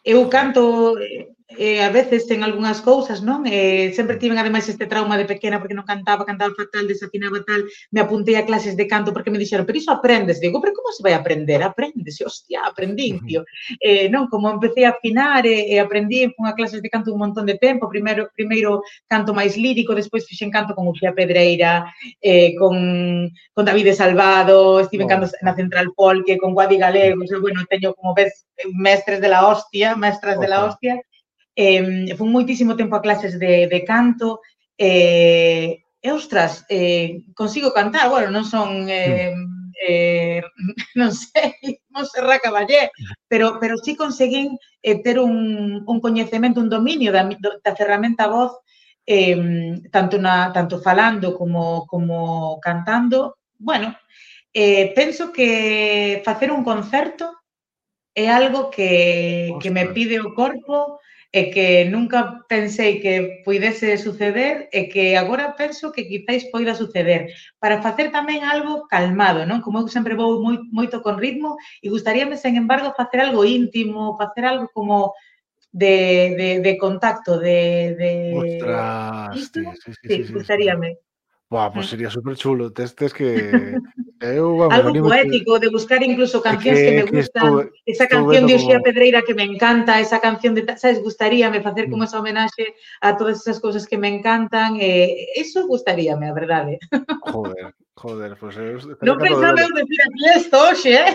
Eu canto eh, a veces en algunhas cousas, non? Eh, sempre tiven ademais este trauma de pequena porque non cantaba, cantaba fatal, desafinaba tal, me apuntei a clases de canto porque me dixeron, pero iso aprendes. Digo, pero como se vai aprender? Aprendes, hostia, aprendín, tío. Eh, non, como empecé a afinar e, e aprendí, fun a clases de canto un montón de tempo, primeiro, primeiro canto máis lírico, despois fixen canto con Uxía Pedreira, eh, con, con David Salvado, estive en canto na Central Polque, con Guadi Galego, o sea, bueno, teño como ves mestres de la hostia, mestras de la hostia. Eh, fun moitísimo tempo a clases de, de canto eh, e, ostras, eh, consigo cantar, bueno, non son eh, eh, non sei, Montserrat Caballé, pero, pero sí conseguín eh, ter un, un coñecemento, un dominio da, da ferramenta voz eh, tanto, na, tanto falando como, como cantando. Bueno, eh, penso que facer un concerto é algo que, que me pide o corpo e que nunca pensei que puidese suceder e que agora penso que quizáis poida suceder. Para facer tamén algo calmado, non? Como eu sempre vou moi, moito con ritmo e gustaríame, sen embargo, facer algo íntimo, facer algo como de, de, de contacto, de... de... Ostras, ¿Isto? tío, sí, sí, Sí, sí, sí, gustaríame. Buah, pues sería súper chulo. Tes, tes que... Eu, vamos, algo anímote... poético, de buscar incluso cancións que, que me que gustan, estou, esa estou canción de Uxía como... Pedreira que me encanta, esa canción de, sabes, gustaríame facer como Mm. esa homenaxe a todas esas cousas que me encantan, eh, eso gustaríame, a verdade. Joder, joder, pues eu Non pensaba eu decir aquí esto hoxe, eh?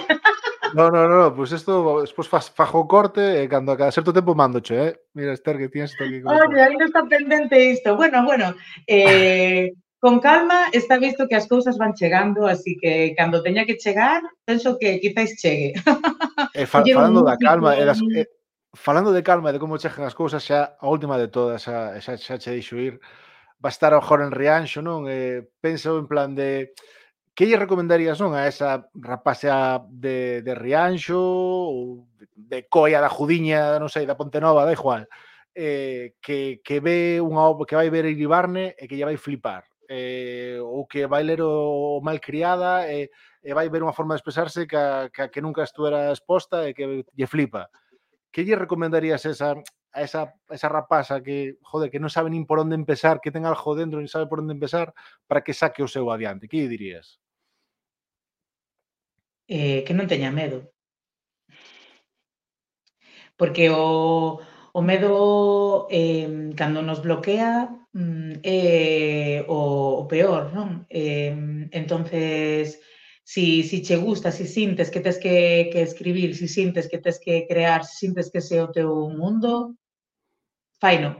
No, no, no, pues esto despois faz fajo corte e cando a cada certo tempo mandoche, eh? Mira, Esther, que tienes isto aquí. Oye, aí non está pendente isto. Bueno, bueno, eh, con calma está visto que as cousas van chegando, así que cando teña que chegar, penso que quizáis chegue. E fa, Coller un falando da músico, calma, e das, un... e, falando de calma e de como chegan as cousas, xa a última de todas, xa, xa, xa che deixo ir, va a estar agora en Rianxo, non? Eh, penso en plan de... Que lle recomendarías, non, a esa rapaxa de, de Rianxo ou de Coia da Judiña, non sei, da Pontenova, da igual, eh, que, que ve unha obra, que vai ver Iribarne e que lle vai flipar, eh, ou que vai ler o Malcriada e, e vai ver unha forma de expresarse que, a, que, a que nunca estuera exposta e que lle flipa. Que lle recomendarías esa, a esa, esa rapaza que, joder, que non sabe nin por onde empezar, que ten algo dentro e non sabe por onde empezar, para que saque o seu adiante? Que lle dirías? Eh, que non teña medo. Porque o, o medo, eh, cando nos bloquea, é o, o peor, non? Eh, entonces, si, si che gusta, si sintes que tes que, que escribir, si sintes que tes que crear, si sintes que ese é o teu mundo, faino.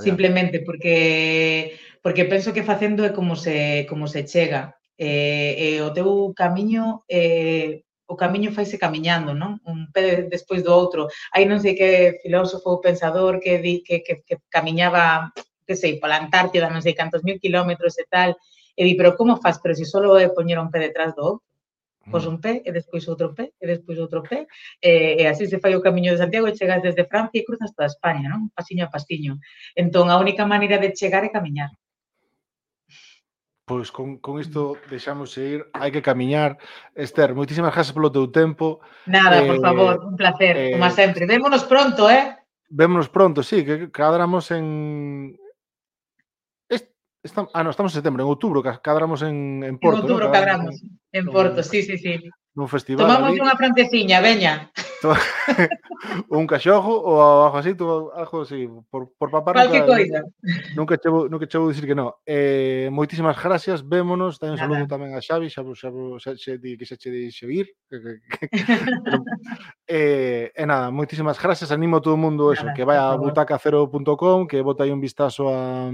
Simplemente porque porque penso que facendo é como se como se chega. E, e o teu camiño eh, o camiño faise camiñando, non? Un pé despois do outro. Aí non sei que filósofo ou pensador que di que, que, que camiñaba, que sei, pola Antártida, non sei cantos mil kilómetros e tal, e di, pero como faz? Pero se si solo é poñer un pé detrás do outro. Pos un pé, e despois outro pé, e despois outro pé, e, e así se fai o camiño de Santiago e chegas desde Francia e cruzas toda España, non? Pasiño a pasiño. Entón, a única maneira de chegar é camiñar. Pois con, con isto deixamos ir, hai que camiñar. Esther, moitísimas gracias polo teu tempo. Nada, por Eh, favor, un placer, como eh, sempre. Vémonos pronto, eh? Vémonos pronto, sí, que cadramos en... Est, estam, ah, no, estamos en setembro, en outubro, ca- cadramos en, en En Porto, ¿no? outubro Cadramos cadramos, en, en nun, Porto, fes- sí, sí, sí. nun festival Tomamos ali. unha francesiña, veña. To- un cachojo ou algo así, tú, algo así, por, por papar Cualque nunca, coisa. nunca che vou, nunca che vou dicir que no. Eh, moitísimas gracias, vémonos, tamén un saludo Nada. tamén a Xavi, xa, xa, xa, xa di que xa che deixe ir, que, que, que, pero, eh, e nada, moitísimas gracias, animo a todo o mundo eso, Nada, que por vai a favor. butaca cero punto com, que bota aí un vistazo a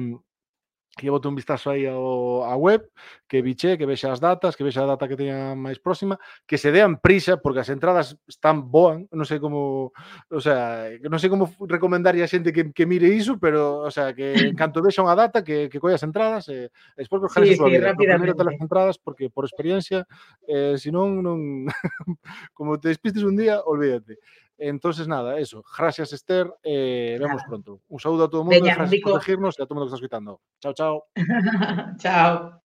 que bote un vistazo aí ao, a web, que biche, que vexa as datas, que vexa a data que teña máis próxima, que se dean prisa, porque as entradas están boan, non sei como, o sea, non sei como recomendarlle a xente que, que mire iso, pero, o sea, que en canto vexa unha data, que, que colle as entradas, e, e despois que Sí, organice a súa sí, vida. Pero primeiro te as rapidamente. entradas, porque por experiencia, eh, se non, non como te despistes un día, olvídate. Entonces, nada, eso. Gracias, Esther. Eh, vemos Nada. pronto. Un saludo a todo o mundo e Veña, un gracias por bico. elegirnos e a todo o mundo que está escuitando. Chao, chao. Chao.